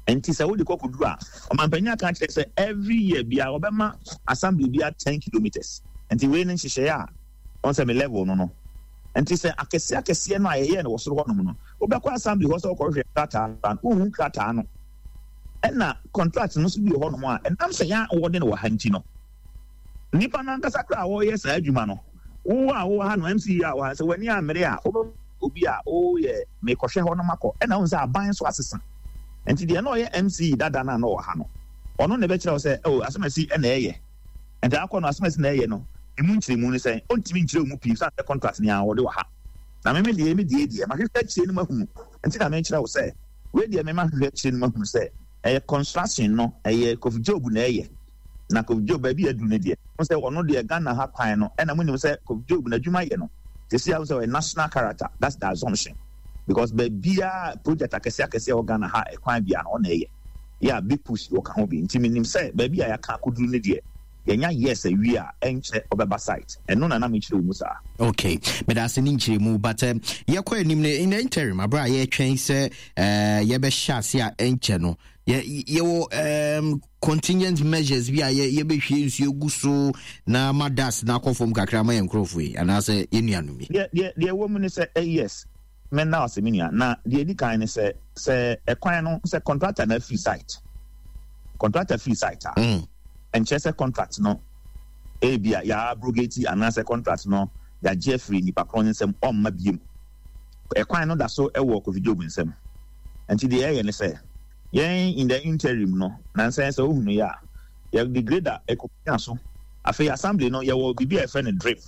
Nti sɛ wode kɔ kɔduru a, ɔmanpanyin aka kyerɛ sɛ every year bia wɔbɛma assembly bia ten kilometres. Nti wei ne nhyehyɛeɛ a wɔn sɛ me level no no Nti sɛ akɛseɛ akɛseɛ no a yɛyɛ no wɔ soro hɔnom no, wobɛkɔ assembly hɔ sɛ wokɔhwehwɛ krataa no, wohu krataa no. Ɛna contract no nso bi wɔ hɔnom a ɛnam sɛ yɛn a wɔde no wɔ ha nti no, nipa no ankasa koraa a wɔreyɛ saa adwuma no, wo a wowɔ ha no, M C a wɔ ha, sɛ w'ani ammere a, wobɛ obi a woyɛ mekɔhwɛ hɔ no makɔ. Ɛna wohu sɛ aban nso asesa, nti deɛ na ɔyɛ M C dada no a na ɔwɔ ha no, ɔno na ɛbɛkyerɛ wo sɛ oh, asɛmasi ɛna ɛyɛ. Nti akɔ no, asɛmasi na ɛyɛ no, emu nkyerɛmu no sɛn, ɔntumi nkyerɛ wo mu pii sane sɛ contract nea wɔde wɔ ha. Na meme deɛ, me deɛ deɛ mahwehwɛ akyire no mahunu. Nti na mekyerɛ wo sɛ wei deɛ, mema hwehwɛ akyire no mahunu sɛ ɛyɛ construction no, ɛyɛ Kofi Job na ɛyɛ. Na Kofi Job baabi aduru no deɛ, wo sɛ ɔno deɛ Ghana ha kwan no, ɛna monim sɛ Kofi Job n'adwuma yɛ no sɛsi a, wo sɛ ɔyɛ national character. That's the assumption, because baabiaa project akɛseɛ akɛseɛ wɔ Ghana ha, ɛkwan bia no ɔna ɛyɛ yɛ a big push wɔka ho bi. Nti menim sɛ baabi a yɛaka akɔduru no deɛ, yɛnya yes awie a, ɛnkyɛ ɔbɛba site. Ɛno na na mekyerɛ wo mu saa. Okay, meda ase ne nkyerɛmu, but um, yɛkɔ anim no, in the interim, aberɛ a yɛtwɛn sɛ uh, yɛbɛhyɛ ase a ɛnkyɛ no, yɛwɔ um, contingent measures bi a yɛbɛhwie nsuo gu so na ma dust na akɔ fam kakra ma yɛn nkurɔfoɔ yi anaasɛ yɛn nuanom yi? Deɛ deɛ ɛwɔ mu ne sɛ eh, yes, mɛna ase me nua. Na deɛ ɛdi kan ne sɛ sɛ ɛkwan no, sɛ contractor na afiri site, contractor firi site a, mm. ɛnkyerɛ sɛ contract no ebi a yɛabrogate anaasɛ contract no yɛagye afiri nipa korɔ ne nsɛm ɔmma biem. Ɛkwan no da so ɛwɔ Kofi Job nsɛm. Nti deɛ ɛyɛ ne sɛ yɛn in the interim no, nansɛn sɛ wohunu yɛ a, yɛde grader ɛkɔpia so. Afei assembly no, yɛwɔ biribi a yɛfrɛ no drip.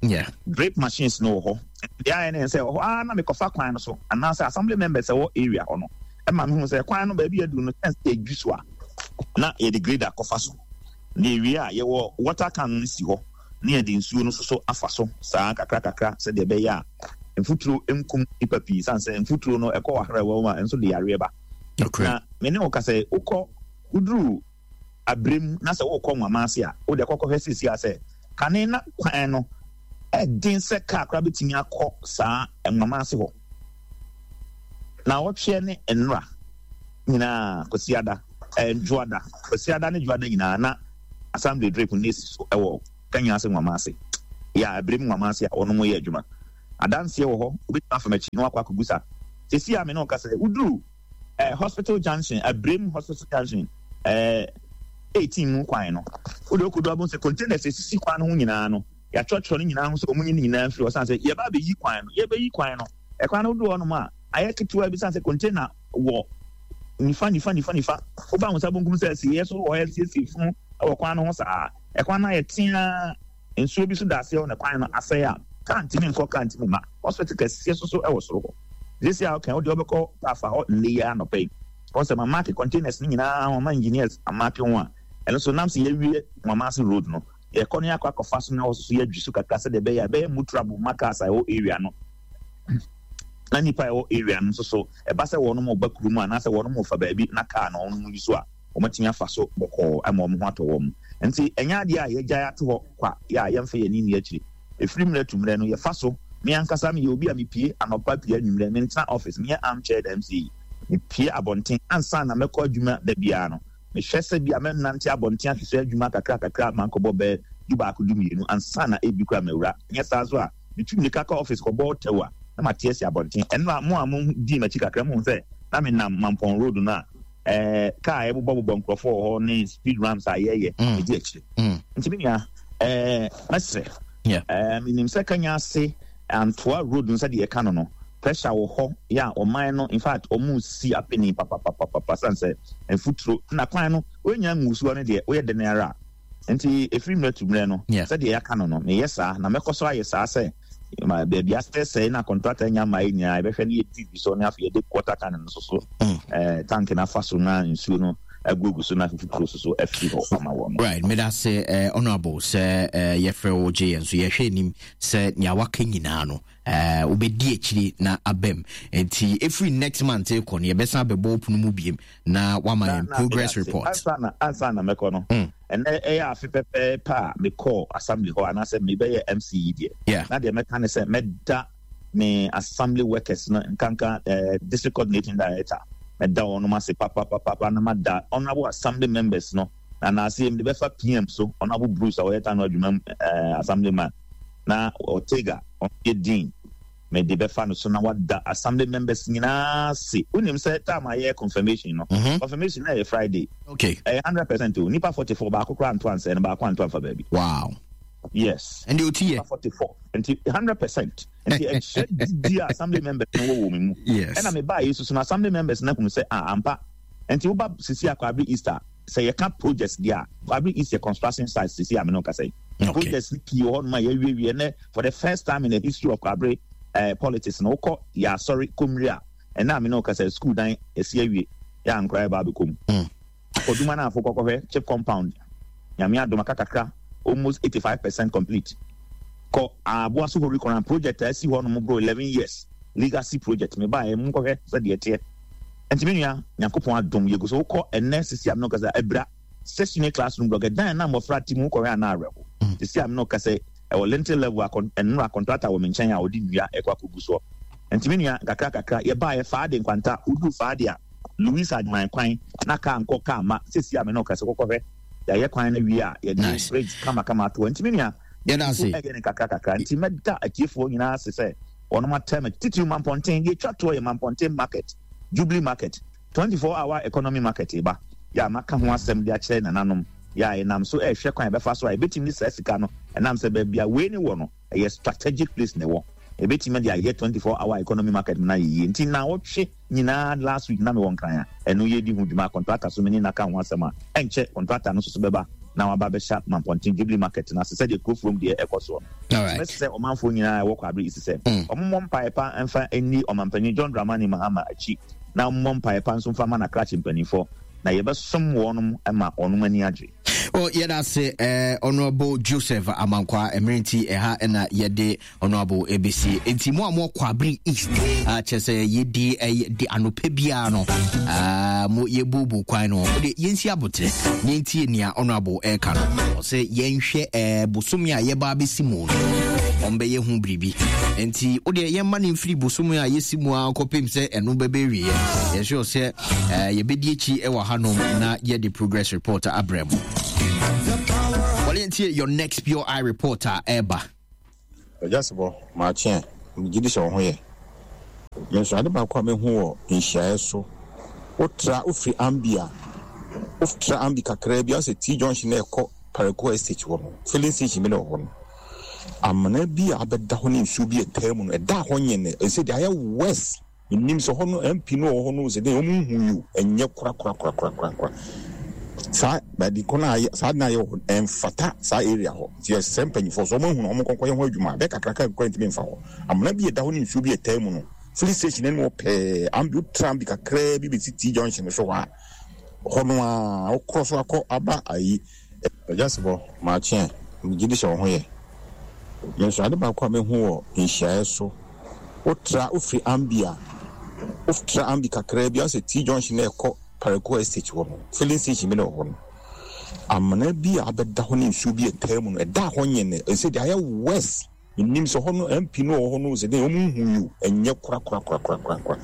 Yeah. Drip machines no wɔ hɔ. Deɛ ayɛ ne sɛ wɔ hɔ a, na mekɔfa kwan no so anaasɛ assembly members ɛwɔ area hɔ no ɛma mehu sɛ kwan no baabi aduru no, sɛ yɛdwi so a, na yɛde grader kɔfa so. Na ewie a, yɛwɔ water can no si hɔ na yɛde nsuo no soso afa so saa kakra kakra, sɛdeɛ ɛbɛyɛ a mfuturo nkum nipa pii, san sɛ mfuturo no ɛkɔ wɔ ahrawa mu a, ɛnso de yareɛ ba. Na me ne wo ka sɛ wokɔ woduru aberem na sɛ wokɔ nwama ase a, wode kɔkɔhwɛ sisi a sɛ kane na kwan no Ɛden sɛ kaa koraa bɛtumi akɔ saa nwama ase hɔ. Na wɔtweɛ ne nnora nyinaa Kwasiada, ɛɛ Dwoada, Kwasiada ne Dwoada nyinaa na assembly drip no esi so ɛwɔ Kanya ase nwama ase. Yɛ abirem nwama ase a wɔn mo yɛ adwuma. Adanseɛ wɔ hɔ, obɛtumi afa m'akyi na wakɔ akɔbusa. Sisi a me ne ɔka sɛ woduru eh, hospital junction, Abirem hospital junction, eh, eighteen mu kwan no, wode wokɔdu abom sɛ containers esisi kwan no ho nyinaa no, yɛatwerɛtwerɛ no nyinaa ho sɛ ɔmo nyi no nyinaa mfiri hɔ san sɛ yɛba abɛyi kwan no, yɛbɛyi kwan no. Ɛkwan no wodu hɔnom a, ayɛ ketewa bi san sɛ container wɔ nifa nifa nifa nifa. Woba wo nsa bonkum sɛ asieɛ so wɔ hɔ asiesie funu wɔ kwan no ho saa. Ɛkwan no ayɛ teaa, nsuo bi so da aseɛ hɔ na kwan no asɛe a, kaa ntumi nkɔ, kaa ntumi mma. Hospital kɛseɛ so so wɔ soro hɔ. Sisi a ɔka wode wobɛkɔ afa hɔ nnɛ yi ara anɔpa yi. Wɔn sɛ mamake containers no nyinaa ho, ama engineers amake ho a, ɛno so nam sɛ yɛawie Nwamase road no, yɛkɔ no yɛakɔ akɔfa so na wɔ so yɛadwi so kakra sɛdeɛ ɛbɛyɛ a ɛbɛyɛ motorable ma cars a ɛwɔ area no. Na nnipa a ɛwɔ area no nso so, ɛba sɛ wɔn ba kurom anaasɛ wɔn fa baabi na car na wɔn yi so a, wɔatumi afa so bɔkɔɔ ama wɔn ho atɔ wɔn. Nti ɛnyɛ adeɛ a yɛgyae ato hɔ kwa yɛ a yɛmfa yɛn ani nni akyire. Ɛfiri mmerɛ to mmerɛ no, yɛfa so. Me ankasa meyɛ obi a mepie anɔpa pie anwummerɛ, mentena office, meyɛ armchair M C. Mepie abɔnten ansa na mɛkɔ adwuma da biara no. Mehwɛ sɛ bi a mɛnante abɔnten ahwehwɛ adwuma kakra kakra mankɔbɔ bɛɛ du baako du mmienu ansa na ebi kora mawura. Nyɛ saa so a, metu mmirika kɔ office kɔbɔ tɛw a na mate asi abɔnten. Ɛno a mo a mo dii m'akyi kakra mo hu sɛ na menam Mampɔn road no a ɛɛ kaa a ɛbobɔbobɔ nkurɔfoɔ wɔ hɔ ne speed ramps a yɛyɛ ɛdi akyire. Nti me nua ɛɛ mɛsrɛ. Ɛɛ menim sɛ Kanya ase Antoa road no sɛdeɛ yɛka no no, pressure wɔ hɔ yɛ a ɔman no in fact ɔmo si apeni papapapapa san sɛ mfuturo na kwan no wonya ngusoɔ no deɛ woyɛ dɛn ara a nti ɛfiri mmerɛ to mmerɛ no sɛdeɛ yɛaka no no meyɛ saa na mɛkɔ so ayɛ saa sɛ baabi asɛsɛe na contractor nya mmaa yi nyinaa yɛbɛhwɛ ne yɛdi bi so ne afei yɛde water can no so so ɛɛ tank no afa so na nsuo no agugu so na mfuturo so so afiri hɔ ama wɔn. Right, meda se eh, honorable sɛ eh, yɛfrɛ wo gye yɛn so yɛhwɛ anim sɛ nea waka nyinaa no eh, wobɛdi akyiri na abam nti ɛfiri next month kɔ no yɛbɛsan bɛbɔ pono mu biem na wama yɛn progress report. Ansa na ansa na mɛkɔ no ɛnɛ ɛyɛ afe pɛpɛɛpɛ a mekɔɔ assembly hɔ anaasɛ mebɛyɛ M C yi deɛ Yeah. Na deɛ mɛka ne sɛ mɛda me assembly workers no nkanka eh, district coordinating director mɛda wɔn ase papapapa na mada honorable assembly members no na naase mede bɛfa P M so honorable Bruce a ɔyɛ Tano adwuma mu eh, assembly man na Ortega ɔyɛ dean mede bɛfa no so na wada assembly members nyinaa se wonim sɛ time ayɛ confirmation no mm-hmm. confirmation na ɛyɛ Friday okay ɛyɛ hundred percent o nipa forty-four baako koraa nto ansɛ no baako anto amfa baabi. Wow. Yes. And the nipa forty-four nti hundred percent nti ɛkyerɛ di a assembly members no wɔ wɔ mu. Yes. Ɛna me baa yesu so na assembly members na hunu sɛ ah ampa nti woba sisi akɔ Easter sɛ yɛka projects deɛ a Kwabre East yɛ construction site sisi a me no kasa yi. Okay. Projects pii wɔ hɔ nom a yɛawiewie ɛnɛ for the first time in the history of Kwabre uh, politics no wokɔ yɛ asɔre kɔmmiri a ɛnɛ a me no kasa school dan yɛsi awie yɛ ankora yɛba abɛkɔ mu. Mm. Akɔduma no afo kɔkɔhwɛ chip compound Nyame adom aka kakra almost eighty-five percent complete. Kɔ Aboa so Hori Koran project a asi hɔ nom bro eleven years legacy project me baa mu nkɔhwɛ sɛ deɛ ɛteɛ. Nti me nua Nyankopɔn adom yɛgu so wokɔ ɛnɛ sisi a me no kasa abira session classroom block ɛdan na mmɔfra te mu wokɔhwɛ ana awerɛho sisi a me no kasa ɛwɔ lintel level akɔ ɛnora contractor wɔ me nkyɛn a ɔde nnua ɛkɔ akɔgu soɔ. Nti me nua kakra kakra yɛbaa yɛ faade nkwanta wodu faade a Louis Adman kwan na kaa nkɔ kaa ma sisi a me no kasa kɔkɔhwɛ yɛayɛ kwan no wie a yɛde bridge kama kama ato hɔ. Nti me nua yɛda ase ɛyɛ ne kakra kakra nti mɛda atiefoɔ nyinaa ase sɛ wɔnom atɛm titiriw Mampɔnten deɛ etwa toɔ yɛ Mampɔnten market Jubilee market twenty-four hour economy market ba yɛ a maka ho asɛm de akyerɛ nananom yɛ a yɛnam so ɛrehwɛ kwan yɛbɛfa so a yɛbɛtumi de saa sika no ɛnam sɛ baabi a wei ne wɔ no ɛyɛ strategic place na ɛwɔ yɛbɛtumi de ayɛ twenty-four hour economy market na yɛyie nti na wɔtwe nyinaa last week na mewɔ nkran a ɛno yɛdi ho dwuma contractor so me ne naka ho asɛm a ɛnkyɛ contractor no nso so bɛba na waba bɛhyɛ Mampɔnten Jubilee market na ase sɛdeɛ kurofurom deɛ ɛkɔ soɔ no. Mɛsɛ ɔmanfoɔ nyinaa ɛwɔ Kwabre East sɛ ɔmommɔ mpaeɛ pa mfa nni ɔmampanyin John Dramani Mahama akyi na ɔmommɔ mpaeɛ pa nso mfa ma n'akrakye mpanimfoɔ na yɛbɛsom wɔnom ma wɔnom ani agye. Oh, yɛda ase eh, Honorable Joseph Amankwa mmerɛ nti ɛha ɛna yɛde Honorable A B C nti mo a mo Kwabre East kyerɛ sɛ yɛdi de anɔpɛ biara no mo yɛbubu kwan no de yɛnsi abotrɛ ne ntie nea Honorable ɛka no ɔsɛ yɛnhwɛ bosome a yɛba abɛsi mu no Ɔmbɛyɛ ho biribi. Nti wodeɛ yɛmma no mfiri bosom a yɛsi mu a kɔpem sɛ ɛno bɛbɛwieɛ. Yɛsure sɛ uh, yɛbɛdi akyi wɔ hanom na yɛde progress report abrɛ mu. Wɔle ntie your next Pure Eye report a ɛba. Agyasebɔ, maakye a, megye di sɛ wo ho yɛ. Me nso, ade baako a mehu wɔ nhyiaeɛ so, wotra, wofiri Ambi a, wotra Ambi kakraa bi, asɛ T junction na ɛkɔ Parakou Estate hɔ no, filling station bi na ɛwɔ hɔ no. Amena bi a abɛda hɔ ne nsuo bi a ɛtaa mu no, ɛda hɔ nyɛ no, ɛsɛ deɛ ayɛ worse. Menim sɛ hɔ no, M P no wɔ hɔ no, sɛ deɛ wɔn nhu yi o, ɛnyɛ korakorakorakorakora. Saa baabi kɔ no ayɛ, saa na ayɛ wɔ hɔ, ɛmfata saa area hɔ. Nti yɛsrɛ mpanyinfoɔ sɛ wɔn ahunu wɔn nkɔnkɔ yɛ ho adwuma, bɛyɛ kakraka bi koraa ntumi mfa hɔ. Amena bi a ɛda hɔ ne nsuo bi a ɛtaa mu no, filling station anim hɔ pɛɛ, ambi wotra ambi kakraa bi bɛsi T junction so hɔ a, hɔ no a, wokorɔ so akɔ aba ayi. Agyasebɔ, maakye a, megye di sɛ wo ho yɛ. Me nso, ade baako a mehu wɔ nhyiaeɛ so, wotra, wofiri Ambi a, wotra Ambi kakraa bi, asɛ T junction na ɛkɔ Parakou Estate hɔ no, filling station bi na ɛwɔ hɔ no. Amena bi a abɛda hɔ ne nsuo bi a ɛtaa mu no, ɛda hɔ nyɛ no, ɛsɛ deɛ ayɛ worse. Menim sɛ hɔ no, M P no wɔ hɔ no, sɛ deɛ wɔn nhu yi o, ɛnyɛ korakorakorakorakora.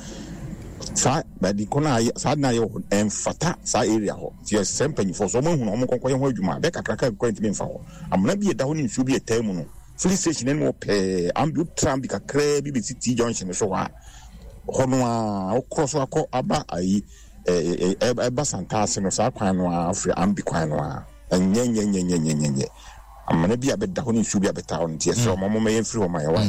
Saa baabi kɔ no ayɛ, saa na ayɛ wɔ hɔ, ɛmfata saa area hɔ. Nti yɛsrɛ mpanyinfoɔ sɛ wɔn ahunu wɔn nkɔnkɔ yɛ ho adwuma, bɛyɛ kakraka bi koraa ntumi mfa hɔ. Amena bi a ɛda hɔ ne nsuo bi a ɛtaa mu no, filling station anim hɔ pɛɛ, ambi wotra ambi kakraa bi bɛsi T junction so hɔ a, hɔ no a, wokorɔ so akɔ aba ayi, ɛba Santaase no, saa kwan no a, wofiri ambi kwan no a, ɛnyɛ nyɛ nyɛ nyɛ nyɛ nyɛ nyɛ. Amena bi a bɛda hɔ ne nsuo bi a bɛtaa hɔ no, nti yɛsrɛ wɔn, wɔn yɛn firi hɔ ma yɛ wa.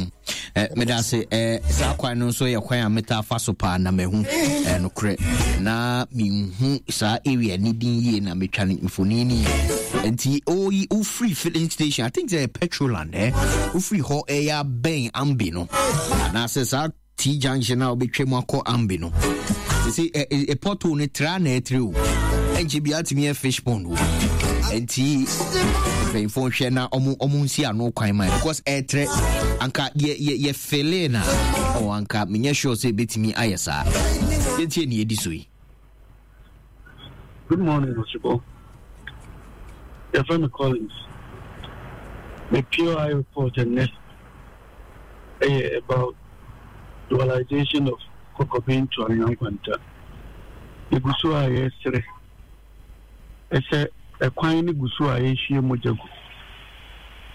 Meda ase. Saa kwan no nso yɛ kwan a metaa fa so paa na mahu nokorɛ na menhu saa area ne din yie na metwa no mfoni no yie. Nti oyi wofiri filling station, I think sɛ Petroland eh wofiri hɔ ɛyɛ abɛn Ambi no anaasɛ saa T junction a wobɛtwa mu akɔ Ambi no. Sɛ ɛ pothole no tra na ɛtrɛ o. Ɛnkyɛ bi atumi yɛ fish pond o. Nti mpanyinfoɔ nhwɛ na ɔmo ɔmo nsi ano kwan ma because ɛtrɛ anka yɛ yɛ yɛ fele na ɔ anka menyɛ sure sɛ ebetumi ayɛ saa. Yɛntie ne yɛdi so yi. Good morning, Osebo. Your friend Collins. The P O I report and next about dualization of Kokobin to Anyankwanta. Egu so a yɛsrɛ ɛsɛ ɛkwan no gu so a yɛhwie mogya gu.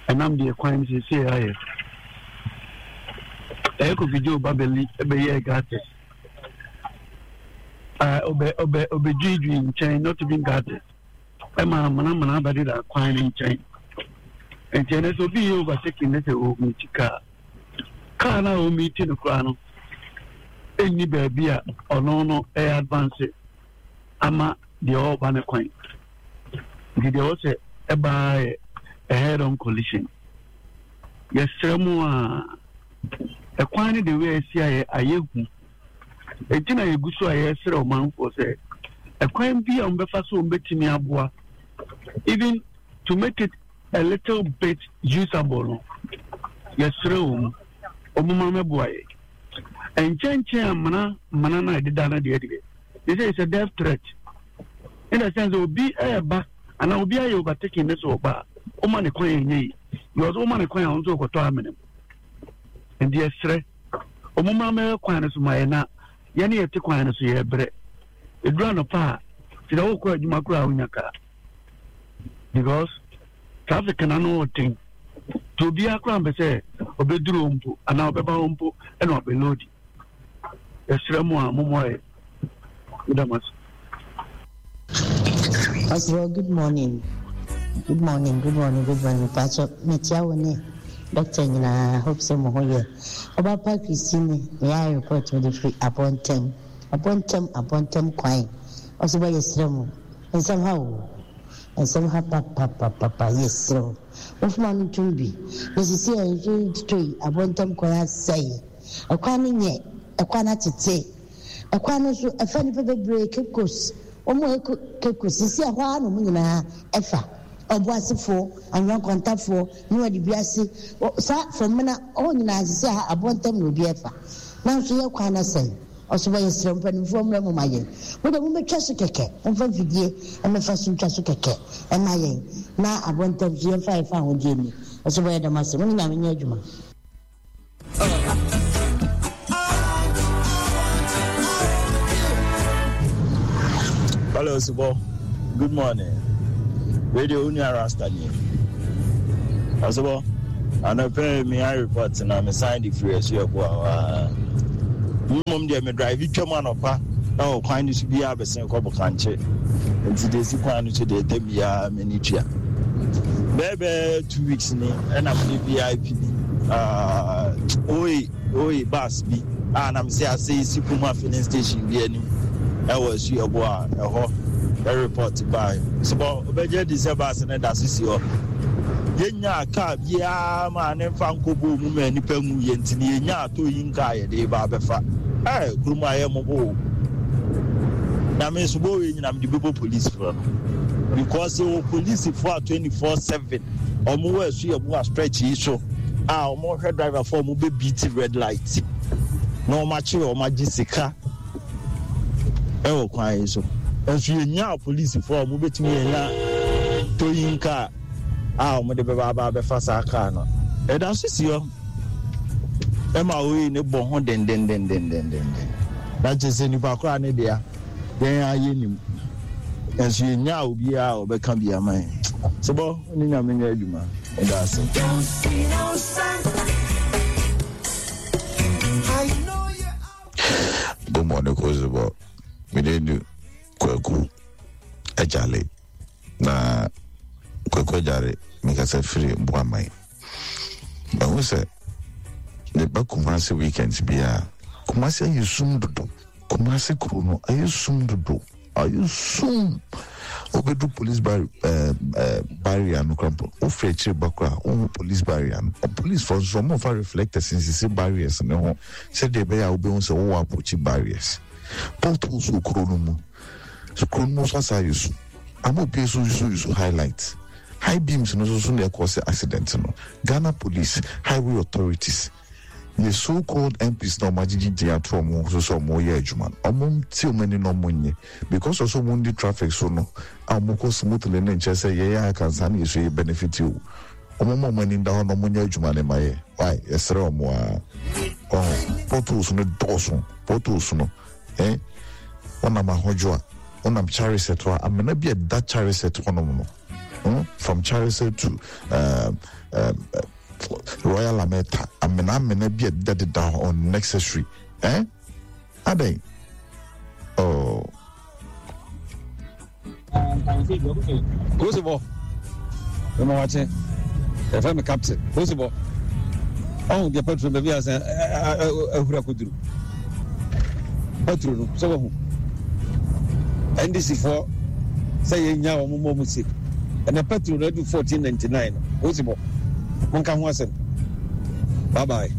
Ɛnam deɛ kwan no seesei ayɛ. Ɛyɛ Kofi Joe Babeli ɛbɛyɛɛ gutters. Ɔbɛ ɔbɛ ɔbɛdwidwi nkyɛn, not even gutters. Ɛma amanamana abɛdeda kwan no nkyɛn. Nti ɛnɛ sɛ obi yɛ overtaking ne sɛ ɔmiti kaa. Kaa no a ɔmiti no koraa no ɛnni baabi a ɔno no ɛyɛ advance ama deɛ ɔreba ne kwan. Nti deɛ ɔwɔ sɛ ɛbaa yɛ a head on collision. Yɛsrɛ mu a ɛkwan no de wei asi ayɛ ayɛ hu. Enti na yɛgu so a yɛsrɛ ɔmanfoɔ sɛ ɛkwan bi a wɔbɛfa so wɔbɛtumi aboa even to make it a little bit usable no, yɛsrɛ wɔn wɔn ma mɛboa yɛ. Nkyɛnkyɛn amena amena no a ɛdeda no deɛ deɛ they say it's a death threat. In the sense obi ɛɛba anaa obi ayɛ overtaking ne so ɔba a ɔma ne kwan ɛnyɛ yi because ɔma ne kwan a ɔno nso ɔkɔtɔ amena mu. Nti yɛsrɛ wɔn ma mɛyɛ kwan no so ma yɛ na yɛne yɛte kwan no so yɛbrɛ. Ɛduru anɔpa a sɛ wokɔ adwuma koraa a wonya kaa because traffic na no ɔten nti obiara koraa mpɛ sɛ ɔbɛduru hɔ mpo anaa ɔbɛba hɔ mpo ɛna ɔbɛlodi. Yɛsrɛ mu a mommoa yɛ. Meda mo ase. Oswald, good morning. Good morning, good morning, good morning. Pacho, metia wo ne doctor nyinaa, hope sɛ mo ho yɛ. Ɔba pa Christine, me ayɛ report me de firi abɔntɛm. Abɔntɛm, abɔntɛm kwan. Ɔsɛ bɔ yɛsrɛ mo. Nsɛm ha o. Nsɛm ha pa pa pa pa pa yɛsrɛ wo. Mofoma no ntom bi. Na sisi a nso totɔ yi, abɔntɛm kwan asɛe. Ɛkwan no nyɛ, ɛkwan no atete. Ɛkwan no nso, ɛfa nnipa bebree Cape Coast. Wɔn a ɛkɔ Cape Coast, sisi a hɔ ara na wɔn nyinaa ɛfa. Ɔboasefoɔ, anwea-nkwantafoɔ, ne wɔde bi ase. Saa fam na hɔ nyinaa sisi a abɔntɛm na obi ɛfa. Nanso yɛ kwan no asɛe. Ɔsɛ bɔ yɛsrɛ mpanimfoɔ mmerɛ mo ma yɛn. Mo de mommɛtwa so kɛkɛ, momfa mfidie mmɛfa so ntwa so kɛkɛ ɛma yɛn. Na abɔntɛm so yɛmfa yɛfa ahodeɛ ni. Ɔsɛ bɛyɛ dɛm ase mo ne Nyame nyɛ adwuma. Hello, Sibo. Good morning. Radio Unia Rasta ni. Osibo, anɔpɛ mi I report na me sign the free asu ɛbo a. Mmom deɛ me drive twam anɔpa na wɔ kwan no so biara bɛsen kɔ Bokankye. Nti de si kwan no so deɛ ɛtɛ biara m'ani tua. Bɛɛbɛɛ two weeks ni ɛna mede V I P bi. Uh, oi, oi, bus bi. A na me se ase si Puma filling station bi anim. Ɛwɔ asu ɛbo a ɛhɔ report by. So obɛgye di sɛ bus ne da so si hɔ. Yɛnya kaa biara ma ne mfa nkɔbɔ mu ma nipa ngu yɛ nti ne yɛnya atɔ yi nkaa yɛde ba abɛfa. Ɛɛ kurom ayɛ mmɔbɔ. Na me nso bɔ wei nyinam de bɛbɔ police foɔ no. Because yɛwɔ police foɔ a twenty-four seven ɔmo wɔ asu yɛ a stretch yi so a ɔmo hwɛ driver foɔ ɔmo bɛ beat red light na ɔmo akyerɛ ɔmo agye sika ɛwɔ kwan yi so. Nso yɛnya police foɔ ɔmo bɛtumi yɛnya towing car a ɔmo de bɛba aba abɛfa saa car no. Ɛda so si hɔ ɛma oyi ne bɔ ho dendendendendenden. Na kyerɛ sɛ nipa koraa ne dea yɛn ayɛ nim. Nso yɛnya obiara a ɔbɛka bi ama yɛn. Sebɔ ne Nyame nyɛ adwuma. Ɛda ase. Good morning, Kozibo. Me Kwaku Ejale na Kwaku Ejale mekasa firi Boamai. Mahu sɛ ne ba Kumasi weekends bia Kumasi ayɛ sum dodo. Kumasi kuro no ayɛ sum dodo. Ayɛ sum. Obedu police bar eh, eh, barrier no krampo. Ofre akyire ba kora wo police barrier no. Police force so mo fa reflectors nsisi barriers ne ho. Sɛ de be ya obehu sɛ wo approach barriers. Potholes wɔ kuro no mu. So kuro no mu so asa ayɛ sum. Ama obi so so so highlight. High beams no so so na cause accident no. Ghana police, highway authorities, the so-called M Ps na ɔmo di ato ɔmo so so ɔmo yɛ adwuma. Ɔmo ti ɔmo ani na ɔmo nye because also ɔmo ndi traffic so no a ɔmo kɔ smoothly ne nkyɛn sɛ yɛyɛ akansa na yɛso yɛ benefit o. Ɔmo mo ɔmo ani da hɔ na ɔmo nyɛ adwuma ne ma yɛ. Why yɛsrɛ ɔmo a ɔho potholes no dɔɔso potholes no eh ɔnam ahodwo a ɔnam Chariset a amena bi ɛda Chariset hɔnom no. Hmm? From Chariset to um, um, Royal Ameta, amena amena bi ɛda deda unnecessary. Eh? Adɛn? Oh. Kosibo. Mama wache. F M captain. Kosibo. Oh, the petrol baby as a ahura kuduru. Petrol no, so wahu. N D C four say yenya wo mo mo si. And the petrol no do fourteen ninety-nine. Kosibo. Monka ho asem. Bye bye.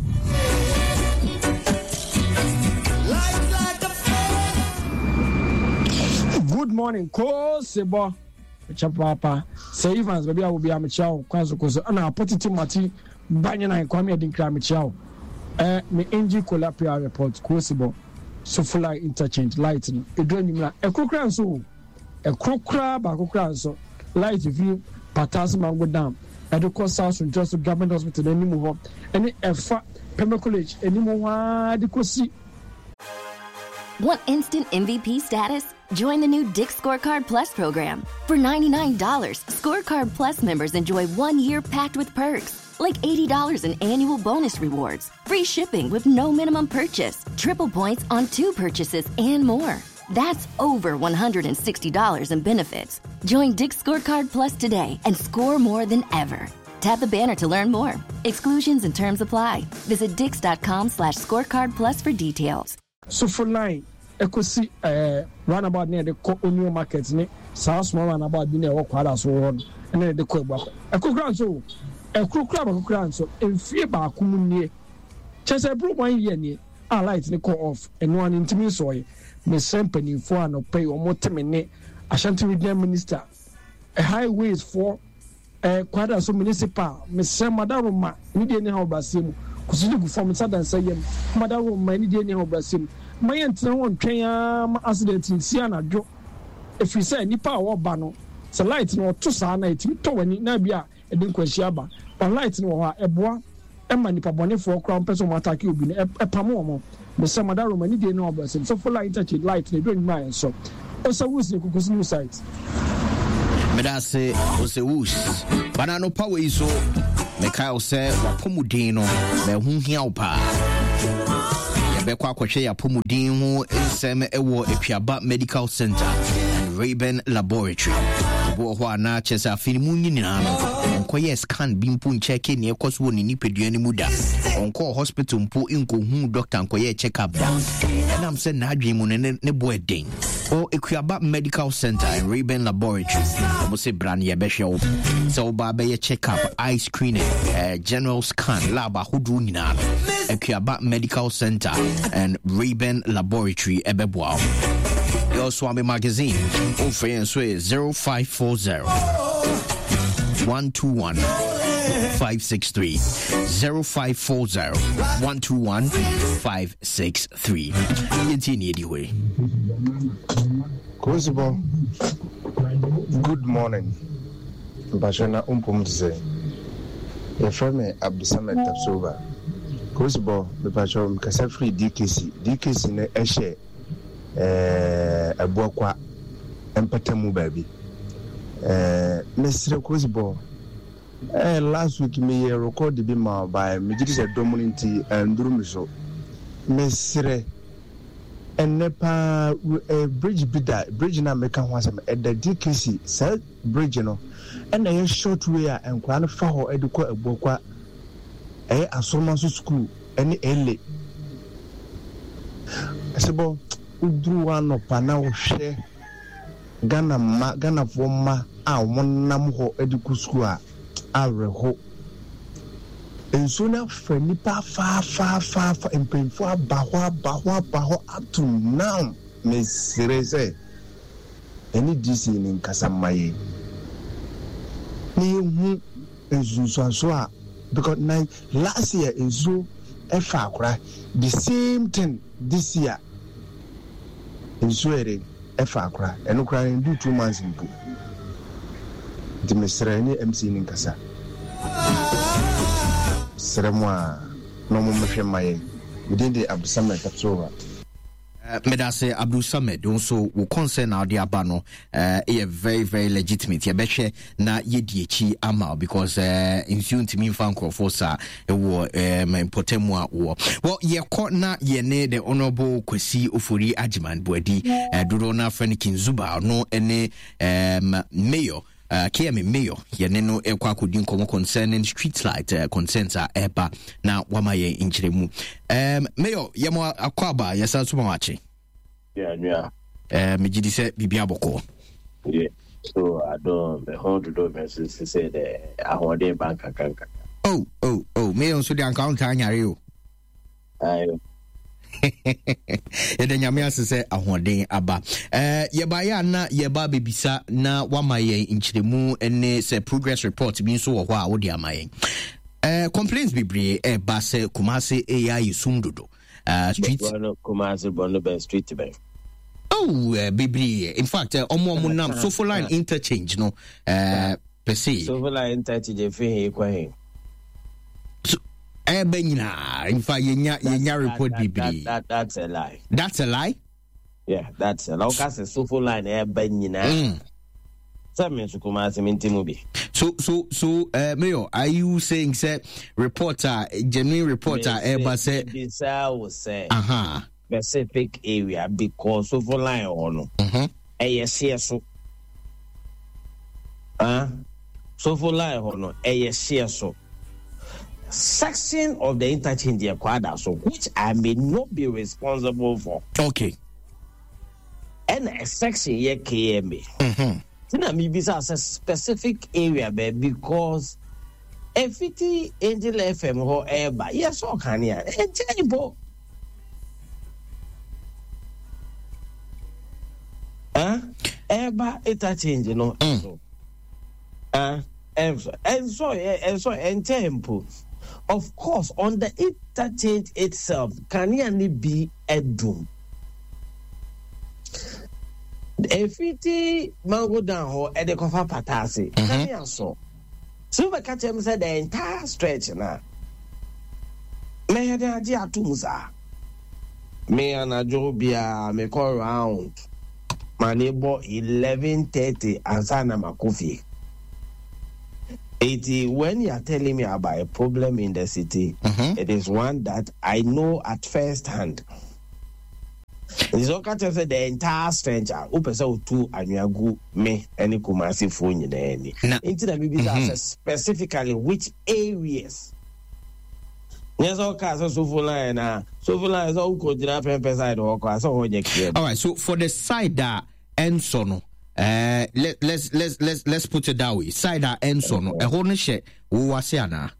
Good morning, Kosibo. Chapapa. Say Evans, baby, I will be a child. Kwanso koso. Ana potiti mati banya na kwame adinkra me child. Eh, me N G Kola P R report Kosibo. Sofula interchange light no. Edru anyimra. Ekrokra nso. Ekrokra ba kokra nso. Light view Patas Mango Dam. Edukọ South Central Government Hospital animu ho. Ene efa Pembe College animu ho ade kosi. Want instant M V P status? Join the new Dick's Scorecard Plus program. For ninety-nine dollars, Scorecard Plus members enjoy one year packed with perks, like eighty dollars in annual bonus rewards, free shipping with no minimum purchase, triple points on two purchases, and more. That's over one hundred sixty dollars in benefits. Join Dick's Scorecard Plus today and score more than ever. Tap the banner to learn more. Exclusions and terms apply. Visit dicks.com slash scorecard plus for details. So for line, ekosi eh roundabout near the Onion Market ne South small roundabout bi na e kwara so ho ne de ko egba ekokra so ekrokra ba kokra so emfie ba akum nie chese bro one year nie a light ne call off eno an ntimi so ye me sempanifo anope o moteme ne Ashanti Regional Minister highways for eh kwara so municipal me semadaro ni de ne ha obrase mu kusudu gu form sadansa yem madaro ma ni de ne ha obrase mu ma yɛntena ho ntwɛn ama accident nsi anadwo ɛfiri sɛ nipa a wɔba no sɛ light no ɔto saa na ɛtumi tɔ w'ani na bi a ɛde nkwanhyia aba But light no wɔ hɔ a ɛboa ɛma nipa bɔnefoɔ koraa mpɛ sɛ ɔmo attack obi no ɛpam wɔn. Mesɛ mada Roma ne die no ɔbɛsɛ Sofo line interchange light na edu enyim a ɛnsɔ. Ɔsɛ Wus ne Kukusi new site. Medase Ose Wus. Bana no pa wei so mekae wo sɛ wapɔmuden no na ɛho hia wo paa. Yɛbɛkɔ akɔhwɛ yɛapɔmuden ho nsɛm ɛwɔ Akuaba Medical Center and Rayburn Laboratory. Obi wɔ hɔ a na kyerɛ sɛ afe no mu nyinaa no ɔnkɔyɛ scan bi mpo nkyɛke nea ɛkɔ so wɔ ne nipadua no mu da. Ɔnkɔɔ hospital mpo nkɔhuu doctor nkɔyɛ check up da. Ɛnam sɛ n'adwene mu no ne ne bo ɛden. Wɔ Akuaba Medical Center and Rayburn Laboratory, wɔn sɛ bra no yɛbɛhwɛ wo. Sɛ woba bɛyɛ check up, eye screening, eh, general scan, lab ahodoɔ nyinaa no, Akuaba Medical Center and Rayburn Laboratory ɛbɛboa wo. Yɛ Swami Magazine, wofrɛ yɛn so yɛ zero five four zero one two one five six three zero five four zero one two one five six three. Yɛntie ne ɛdi hɔ yi. Kosibo, good morning. Mpakyɛ na wompom te sɛ yɛfrɛ me Abdusamad Tapsoba. Kosibo, mepakyɛ mekasa firi D K C. D K C no ɛhyɛ eh, Abuakwa mpatamu baabi. Eh, mesrɛ Kosibo, eh, last week meyɛ record bi ma ɔbaeɛ, megye di sɛ dɔm no nti anduru me so. Mesrɛ ɛnnɛ paa eh, bridge bi da, bridge no a meka ho asɛm ɛda D K C. Saa bridge no ɛna ɛyɛ short way a nkwadaa no fa hɔ de kɔ Abuakwa, ɛyɛ Asoroma so school ɛne Ele. Sebɔ woduru hɔ anɔpa na wohwɛ Ghana mma, Ghanafoɔ mma a wɔn nam hɔ de kɔ school a awerɛho. Nsuo no afa nnipa afaafaafa, mpanyinfoɔ aba hɔ aba hɔ aba hɔ up to now. Mesrɛ sɛ ɛne D C ne nkasa mma yɛn na yɛhu nsunsuanso a, because na last year nsuo ɛfa akora, the same thing this year nsuo yɛ de ɛfa akora, ɛno koraa ndu two months mpo. Nti mesrɛ ne M C ne nkasa, srɛ mo a na ɔmo mmɛhwɛ mma yɛn. Medin de Abdusamad Tapsoba. Medase Abdul Samed nso wo concern na ɔde aba no ɛyɛ very very legitimate. Yɛbɛhwɛ na yɛdi akyi ama because nsuo ntumi mfa nkurɔfoɔ saa ɛwɔ mpɔtam a wɔ. Well, yɛkɔ na yɛne the Honorable Kwasi Ofori Agyeman Boadi, dodoɔ no afrɛ no Kinzuba, ɔno ne mayor, Uh, K M Mayor, yɛne no ɛkɔ akɔdi nkɔmmɔ concerning street light uh, concerns a ɛba na wama yɛn nkyerɛmu. Um, Mayor, yɛmɔ akɔ aba, yɛsan so ma wakye. Yeah, yeah. Uh, megye di sɛ biribi abɔkɔ. Yeah, so I don't, me ho dodo me so sɛ dɛ ahoɔden ba nkakra nkakra. Oh, oh, oh, Mayor nso de anka wontaa nyare o. Ayo. Yɛda Nyame ase sɛ ahoɔden aba. Eh, yɛbaeɛ a na yɛba bɛbisa na wama yɛn nkyerɛmu ne sɛ progress report bi nso wɔ hɔ a wode ama yɛn. Eh, complaints bebree ɛba sɛ Kumase ɛyɛ ayɛ sum dodo. Uh, street Kumase bɔ no bɛn street bɛn. Oh, uh, bebree. In fact, ɔmo ɔmo nam Sofo line interchange no. Uh, per se. Sofo line interchange efi he kɔ he. Ebe nyina, in fact, yenya yenya report bebree. That, that's a lie. That's a lie? Yeah, that's a lie. Oka se Sofo line ebe nyina. Mm. Sɛ me nso Kumasi me nti mu bi. So, so, so, uh, Mayor, are you saying say reporter, genuine reporter, eba say? Bisa wo say. Aha. Specific area because Sofo line ono. Mhm. Eye se so. Ah, Sofo line ono eye se so. Section of the interchange required so, which I may not be responsible for. Okay. And a section here K M A. Mm-hmm. Tina maybe a specific area because if it Angel F M or Eba, yes, or can ya? Huh? Eba interchange, you know. Mm. Uh, and so, and so, and so, and tempo. Of course, on the interchange itself, can you be a doom? If it mango down or at the cover patasi, can you so? Sɛ wobɛka kyerɛ me sɛ the entire stretch na mɛyɛ den agye ato mu saa. Me anadwo biara mekɔ round ma ne bɔ eleven thirty ansa na makɔ fie. Eti when you are telling me about a problem in the city, mm-hmm. it is one that I know at first hand. Nti sɛ ɔka kyerɛ sɛ the entire stretch a wopɛ sɛ wotu anwea gu me ne Kumasefoɔ nyinaa ani. Nti na mebisa mm-hmm. sɛ specifically which areas. Nyɛ sɛ ɔka sɛ Sofo line na Sofo line sɛ wokɔgyina pɛmpɛ side hɔ kɔ a sɛ hɔ nyɛ clear. All right, so for the side that ɛnsɔ no, uh, let, let's, let's, let's, let's put it that way. Side a ɛnsɔ no, ɛhɔ no hyɛ wo ase anaa?